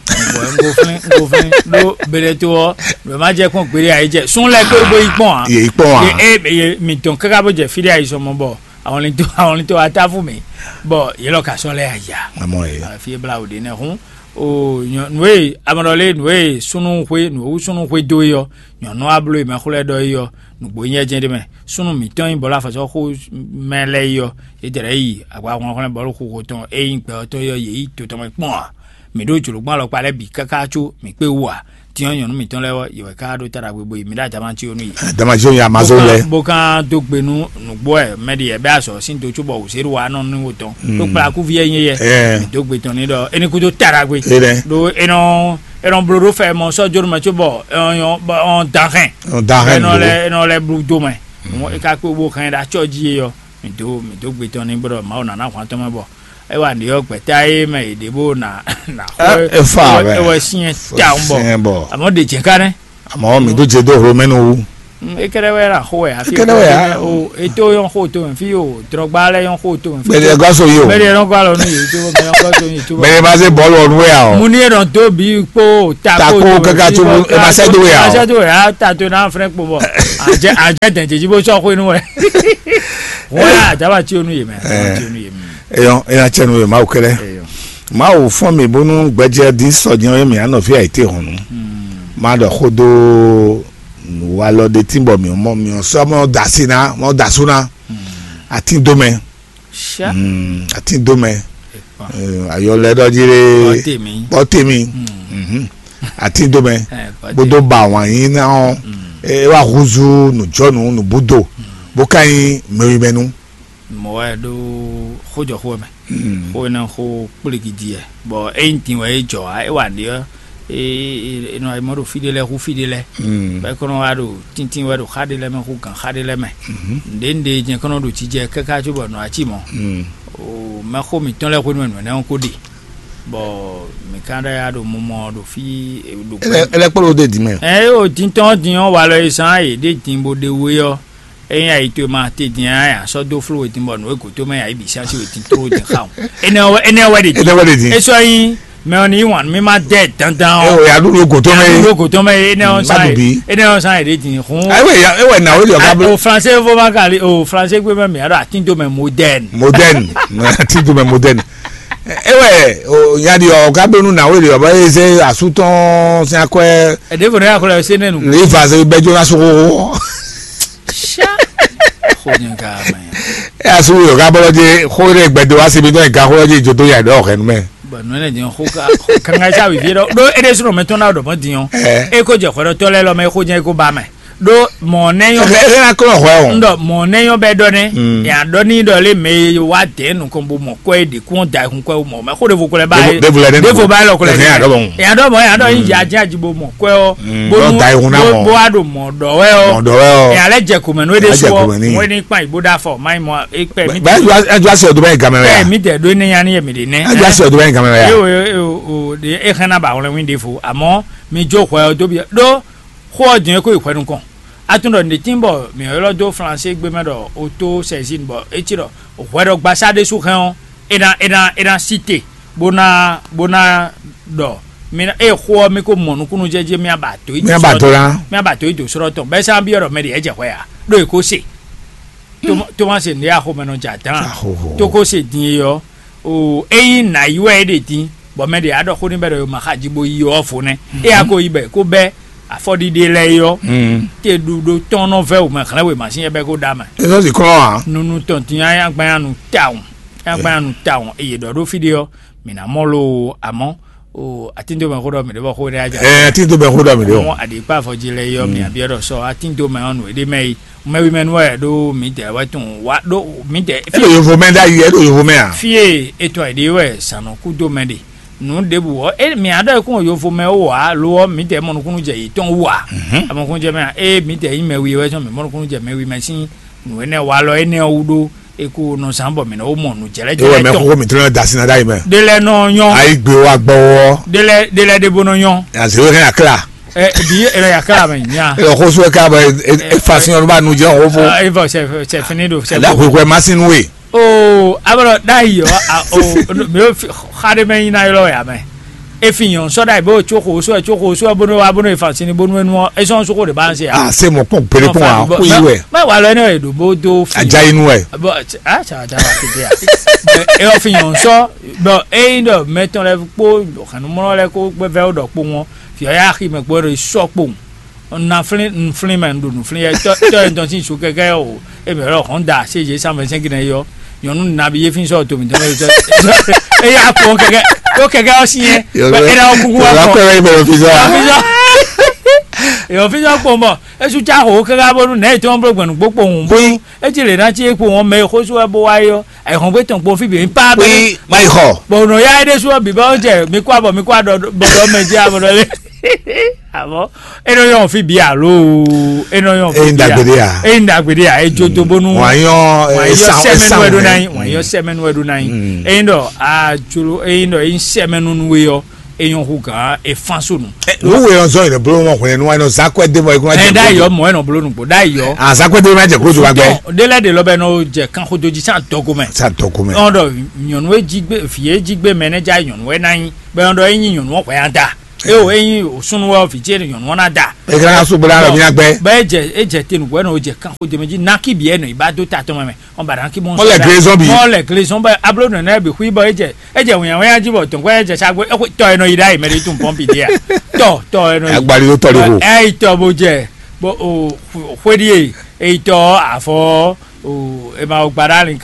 Nugbo wɛ nugbo flin nugbo flin ɖó bɛlɛ tó ɔ bɛ má jɛ kpɔn gbére ayi jɛ sún lɛ kpé bó yi kpɔn a. Yè yi kpɔn a. Ye e ye mi dɔn kaka bó jɛ fi ɖé ayi sɔmɔ bɔ àwọn ní tó àwọn ní tó atáfù mi bɔ yé lɔ ka sɔ lɛ aya. Amɔ ye. Fi bla o de nɛ hun o nyɔ nue amɔdɔ le nue sunu hwe nue wu sunu hwe do yi ɔ nyɔnu ablo yi mɛ xlɛ dɔ yi ɔ nugbo nyɛ jɛ de mɛ súnnu mǐtɔn nyí bɔlú afɔsɔ́xo mɛ lɛ́ɛ yi ɔ́, é jɛ lɛ̌ yi agbahwlɛ́nhwlɛ́n bɔlúxuxo tɔn e nyí gbɛ ɔ́ tɔn é ɔ́ yě yi to tɔn mɛ kpɔ́n ǎ. Mǐ ɖó jlǒgbɔ́n alɔkpa lɛ́ɛ bǐ káká có mǐ kpé wú ǎ. Din ɔ́, nyɔ̌nu mǐtɔn lɛ́ɛ ɔ́, yě wɛ ká ɖó táɖagbe bo yi mǐ ɖo Damáti ɔ́ nú yě. Damáti ɔ́ ya ma zó lɛ́ɛ. Bó kán dó gbe nú nǔgbó wɛ mɛ ɖi yɛ bɛ́ azɔ̌ sín do cóbɔ wǔzéɖuwa nɔ nú wò tɔn. Ɖó kplakúví wɛ nyí yɛ. Mǐ dó gbe tɔn ní ɖɔ é ní kúdó táɖagbe. Ɖó é nɔ é nɔ bló ɖó fɛ mɔ sɔ́ jónú mɛ cóbɔ é nɔ nyɔ́ bɔ é nɔ dán hɛn. Ɔn da hɛn Enɔ lɛ enɔ lɛ blu do mɛ. Mo e ka kpe bo hɛn ɖe acɔ ji e ɔ, mi do mi do gbe tɔn ni bɔ Mawu nana hwan tɔn mɛ bɔ. E wa ndi ɔ gbɛta e mɛ e ɖe bo na na xɔ. E fa bɛ. E wɔ sinyɛ ta ŋu bɔ. Sinyɛ bɔ. Amɔ ɖe jɛ ka nɛ. Amɔ mi do je do hlo mɛ nu wu. E kɛɖɛ wɛ la xo wɛ afi. E kɛɖɛ wɛ ya. O e to yɔn xo to mɛ fi o drɔgba lɛ yɔn xo to mɛ fi. Bɛlɛ gɔso yi o. Bɛlɛ yɔn gɔ alɔ nu yi to bɛ yɔn gɔso yi to. Bɛlɛ ma se bɔlu ɔnu wɛ ya o. Mu ni e nɔ do bi kpo tako kaka tso e ma sɛ do ya o. Sɛ do ya ta to na fɛnɛ kpo bɔ. Ajɛ ajɛ dɛn jɛji bo sɔ xo inu wɛ. Wọ́n yà àjábá tí o nu yè mẹ́. Tí o nu yè mẹ́. Eyɔn eya tsɛ nu yɛ mawu kɛlɛ. Mawu fɔn mi bónú gbɛjɛ di sɔjɔ yɛ mi anɔ fi ayite hɔnnu. Ma ɖɔ xó dó nǔwalɔ ɖe tí bɔ mi mɔ mi sɔ mɔ dasi na mɔ dasu na. Atin dó mɛ. Sha. Atin dó mɛ. Ayɔ lɛ ɖɔ jí ɖe. Bɔtemi. Bɔtemi. Atin dó mɛ. Bódó ba wǎn yín ná ɔ́. E wá húzú nǔjɔnǔ nǔbúdo. Bó ka nyí mɛwimɛnu. Mɔ̌ wɛ ɖó xójɔxó wɛ mɛ. Xó énɛ́ xó kplígídí wɛ. Bɔ ényí din wɛ é jɔ ǎ, é wa nǔɖé ɔ́, é nɔ mɔ ɖo fí ɖé lɛ́ɛ hú fí ɖé lɛ́ɛ. Bɔ é kɔn nɔ wá ɖo tíntín wɛ ɖo xá ɖé lɛ́ɛ mɛ hú gǎn xá ɖé lɛ́ɛ mɛ. Nǔɖé nǔɖé jɛ́n kɔn nɔ ɖo jijɛ káká cóbɔ nǔ wá cí mɔ̌. O mɛxó mǐtɔn lɛ́ɛ xwénu wɛ nǔ énɛ́ ɔ́ kó ɖe. Bɔ mǐ ka ɖɔ ya ɖo mumɔ ɖo fí ɖo. Ɛ lɛ kpɔ́ ɖo ɖe dǐ mɛ. Ɛ o din tɔn din ɔ́ walɔ e zán yě ɖe din bó ɖe we ɔ́. Ényí ayi towe ma te din ɔ́, a sɔ́ dó fló we din bɔ nǔ e gǒ towe mɛ a yi bǐ sín así we din tló din xa o. Énɛ́ ɔ́ wɛ énɛ́ ɔ́ wɛ ɖe din. Énɛ́ wɛ ɖe din. É sɔ́ nyí mɛ ɔ́ ní yí wǎn nú mì ma dɛ dandan ɔ́. Ɛ o ya ɖu ɖo gǒ towe mɛ. Ɖo gǒ towe mɛ énɛ́ ɔ́ sán yɛ énɛ́ ɔ́ sán yɛ ɖe din hun. Ayi wɛ ya e wɛ na wele ɔka blo. O français fo ma ka li o français gbé mɛ mi a ɖo atin do mɛ moderne. Moderne atin do mɛ moderne. E wɛ o nya di ɔka blo nu na wele ɔba ye se asu tɔn sin akwɛ. Ɛdɛ fo ne akɔlɔ se nɛnu. Le va se bɛ jona so. Xó nyɛ ka mɛ. E asu yɔ ka bɔlɔ je xó ɖe gbɛdo asi mi dɔn ga xó lɔ je jo do ya ɖɔ xɛ numɛ. Bɔn nɔ ne diɲɔ xó ka kanga sa wivi ɖɔ ɖo e ɖe sunɔ mɛ tɔn na ɖɔ mɔ diɲɔ. E ko jɛ xɔɖɔtɔ lɛ lɔ mɛ xó nyɛ ko ba mɛ. Ɖo mɔ nɛ yɔ. E na kɔ xɔ o. Ndɔ mɔ nɛ yɔ bɛ dɔ nɛ. Ya dɔ ni dɔ le mɛ wa dɛ nukɔn bo mɔ kɔ e de kún da kun kɔ mɔ mɛ xó de vo kɔlɛ ba ye. De vo ba lɔ kɔlɛ. Ya dɔ mɔ ya dɔ yin ya jɛ ajibo mɔ kɔ. Bó da ihun náà mɔ. Bó a ɖo mɔ dɔ wɛ ɔ. Mɔ dɔ wɛ ɔ. Ɛ alɛ jɛ kome nɔ ede sɔ. Mɔ ene kpa ibo da fɔ ma yi mɔ ekpɛ mi. Bɛ ɛ jɔ ase ɔdun bɛ yi gamɛ wɛ ya. Ɛ mi tɛ do ne yanni yɛ mi de nɛ. Ɛ jɔ ase ɔdun bɛ yi gamɛ wɛ ya. Ɛ o o o de e hɛn na ba wlɛ win de fo amɔ mi jo xɔ ɛ o dobi ɖo xɔ ɔ diɛ ko yi xɔ ɛ nukɔn. Atún ɖɔ ne tin bɔ mi ylɔ do flanse gbé mɛ ɖɔ o to sɛzin bɔ etsi ɖɔ hwɛ ɖɔ gbasa ɖe su hɛn ɔ ena ena ena si te. Bó ná bó ná ɖɔ mi ná eye xó ɔ́ mi ko mɔ nukúnnú jɛjɛ mi aba tó yi. Mi aba tó ná. Mi aba tó yi dǒ srɔ́ tɔn bɛ́ sá byɔ́ ɖɔ mɛ ɖě jɛ hwɛ ǎ ɖó è ko se. Tomase ndé axomɛ nɔ jɛ adán. Tó ko se din e ɔ́ o ényí nǎ yi wɛ é ɖe din Bɔ mɛ ɖě a ɖɔ xó n'i bɔ ɖɔ ma xa ji bo yi ɔ́ vo nɛ́. É a ko yi bɔ è ko bɛ́ afɔɖiɖe lɛ́ɛ é ɔ́, te ɖu ɖo tɔn nɔ vɛ́ wǒ mɛ hlɛ́n wěma sín é bɛ́ ko ɖa mɛ. Ezɔ́ si kɔn ǎ. Nunu tɔn din ayágbanyanu tawun, ayágbanyanu tawun eye ɖɔ ɖó fí ɖé ɔ́, mǐ ná mɔ lo amɔ̌ o atíndómɛ xó ɖɔ mǐ ɖé bɔ xó ɖé ajá. Ɛ atíndómɛ xó ɖɔ mǐ ɖé o. Mɔ aɖǐkpá avɔji lɛ́ɛ é ɔ́, mǐ abiɛ ɖɔ sɔ atíndómɛ ɔ́ nǔ é ɖé mɛ yi mɛwi mɛ nú wɛ ɖó mǐdɛɛ wɛ tún wá ɖó mǐdɛɛ. Ɛ ɖo yovo mɛ ɖ'ayǐ, ɛ ɖo yovo mɛ a? Fie etɔn e ɖe wɛ zǎn nɔ kú dó mɛ ɖe nǔ ɖěbǔ ɔ́, é mǐ á ɖɔ é kún yovo mɛ ó ǎ lo ɔ́, mǐdɛɛ mɔ nukúnnú jɛ yětɔn wú ǎ. Amɔkúnnú jɛ mɛ ǎ, ée mǐdɛɛ nyí mɛwi wɛ sɔn mǐ mɔ nukúnnú jɛ mɛwi mɛ sín nǔ énɛ́ wa lɔ énɛ́ ɔ́ wú ɖó é kó nɔ zán bɔ mǐ nɔ wó mɔ nǔ jɛlɛ́ ewɔ mɛ jɛlɛ́ tɔn. Xóxó mǐtɔn nɔ da sin na ɖ'ayǐ mɛ. Ɖé lɛ́ɛ nɔ nyɔ́. Ayi gbe wa gbɔ wɔ. Ɖé lɛ́ɛ ɖé lɛ́ɛ ɖé bó nɔ nyɔ́. Azéwé hɛn akla. Ɛ bi ɛ lɛ yakla mɛ nya. Ɛ xóso ɛ ká bɔ e fa sin ɔnu ba nu jɛ xó fo. Ɛ vɔ sɛ sɛ fini do sɛ. Ɛlɛ xwixwɛ ma sin nu we. Oo abɔlɔ n'a yi ɔ a o mɛ o xa ɖe mɛ yin na yɔlɔ ya mɛ. Efi nyɔ sɔ ɖa yi bó tso xo so ɛ tso xo so ɛ bónú wa bónú efa sin bónú enu ɔ esɔn so xo de ba se a. A se mɔ kpɔn gbele kpɔn a kó yi wɛ. Mɛ wa lɔ ɛnɛ yɛ do bó do fi. Adza yi nu wɛ. Bɔ a tsa da wa tete a. Ɛ ɔ fi nyɔ sɔ bɔ eyin dɔ mɛtɔn lɛ kpó xanumɔlɔ lɛ kó gbɛvɛ o dɔ kpó ŋɔ fi ɔ ya xi mɛ gbɔ ɖo sɔ kpó. Na flín nflín mɛ un ɖo nǔflín yɛ tɔ tɔ yɛ tɔn sín su kɛkɛ o e mɛ lɔ hɔn da se yě cent vingt-cinq nɛ yɔ nyɔnu nabi yé fi sɔ to mi tɔn yɛ tɔ e y'a kpɔn kɛkɛ ko kɛkɛ ɔ si yɛ e na kuku wa kɔ yɔ fi sɔ yɔ fi sɔ kpɔn bɔ esu tsa xo kɛkɛ bɔ nu nɛ etɔn blo gbɛnu gbó kpɔn hùn bó e ti lè na tsi e kpo wɔn mɛ e xó su wɛ bó wá yɔ. Ayihɔn gbé tɔn kpɔn fí bǐ pa bɛ. Pé má yi xɔ. Bɔn nɔ ya ɖé sú bǐ bá jɛ mi kó abɔ mi kó adɔ bɔdɔ mɛ jẹ abɔdɔ lé. Àmọ́ e nɔ yɔn fí bǐ alo e nɔ yɔn fí bǐ. Eyin dàgbére à. Eyin dàgbére à e jo to bónú. Wọ́n á yán wọ́n á yán sẹ́mẹ́nu ẹ̀dùn náà yín wọ́n á yán sẹ́mẹ́nu ẹ̀dùn náà yín. Eyin dɔ a jolo eyin dɔ eyin sẹ́mẹ́nu nu we yɔ eyin hu gǎn e fán sónù. Wúwo yẹn zɔ yẹn bolo mɔ hwɛ nu wa yẹn zan kɔ ɛdí mɔ ekun. Ɛ da yɔ mɔ ɛnɔ bolo nugbo da yɔ. Azan kɔ ɛdí mɔ jɛ kó jɔ agbɛ. Délɛ de lɔ bɛ n'o jɛ kan xo doji san dɔgo mɛ. San dɔgo mɛ. Ɔn dɔ nyɔnu e jí gbé fi e jí gbé mɛ ne ja nyɔnu e na nyi bɛ ɔn dɔ e nyi nyɔnu ɔn hwɛ ya da. E o e nyi o sunu wɛ o fi tiɛ nyɔnu ɔn na da. E kana ka sugbo la lɔ mi na gbɛ. Bɛ e jɛ e jɛ tenu wɛ n'o jɛ kan xo dɛmɛ ji naki bi ɛnɔ i ba do ta tɔmɔ mɛ. Ɔn ba naki mɔ. Mɔ lɛ glezɔn bi. Mɔ lɛ glezɔn bɛ ablo nɔ nɛ bi xui bɔ e jɛ e jɛ wɛnya wɛnya ji bɔ tɔnkɔ e jɛ sa gbɔ e xo tɔ e nɔ yi ɖa yi mɛ de tun pɔmpi de ya. Tɔ tɔ e nɔ yi. Agbali do tɔ de ko. Ɛ yi tɔ bo jɛ bo o xwe di e e yi tɔ afɔ o e ma o gba ɖa lin.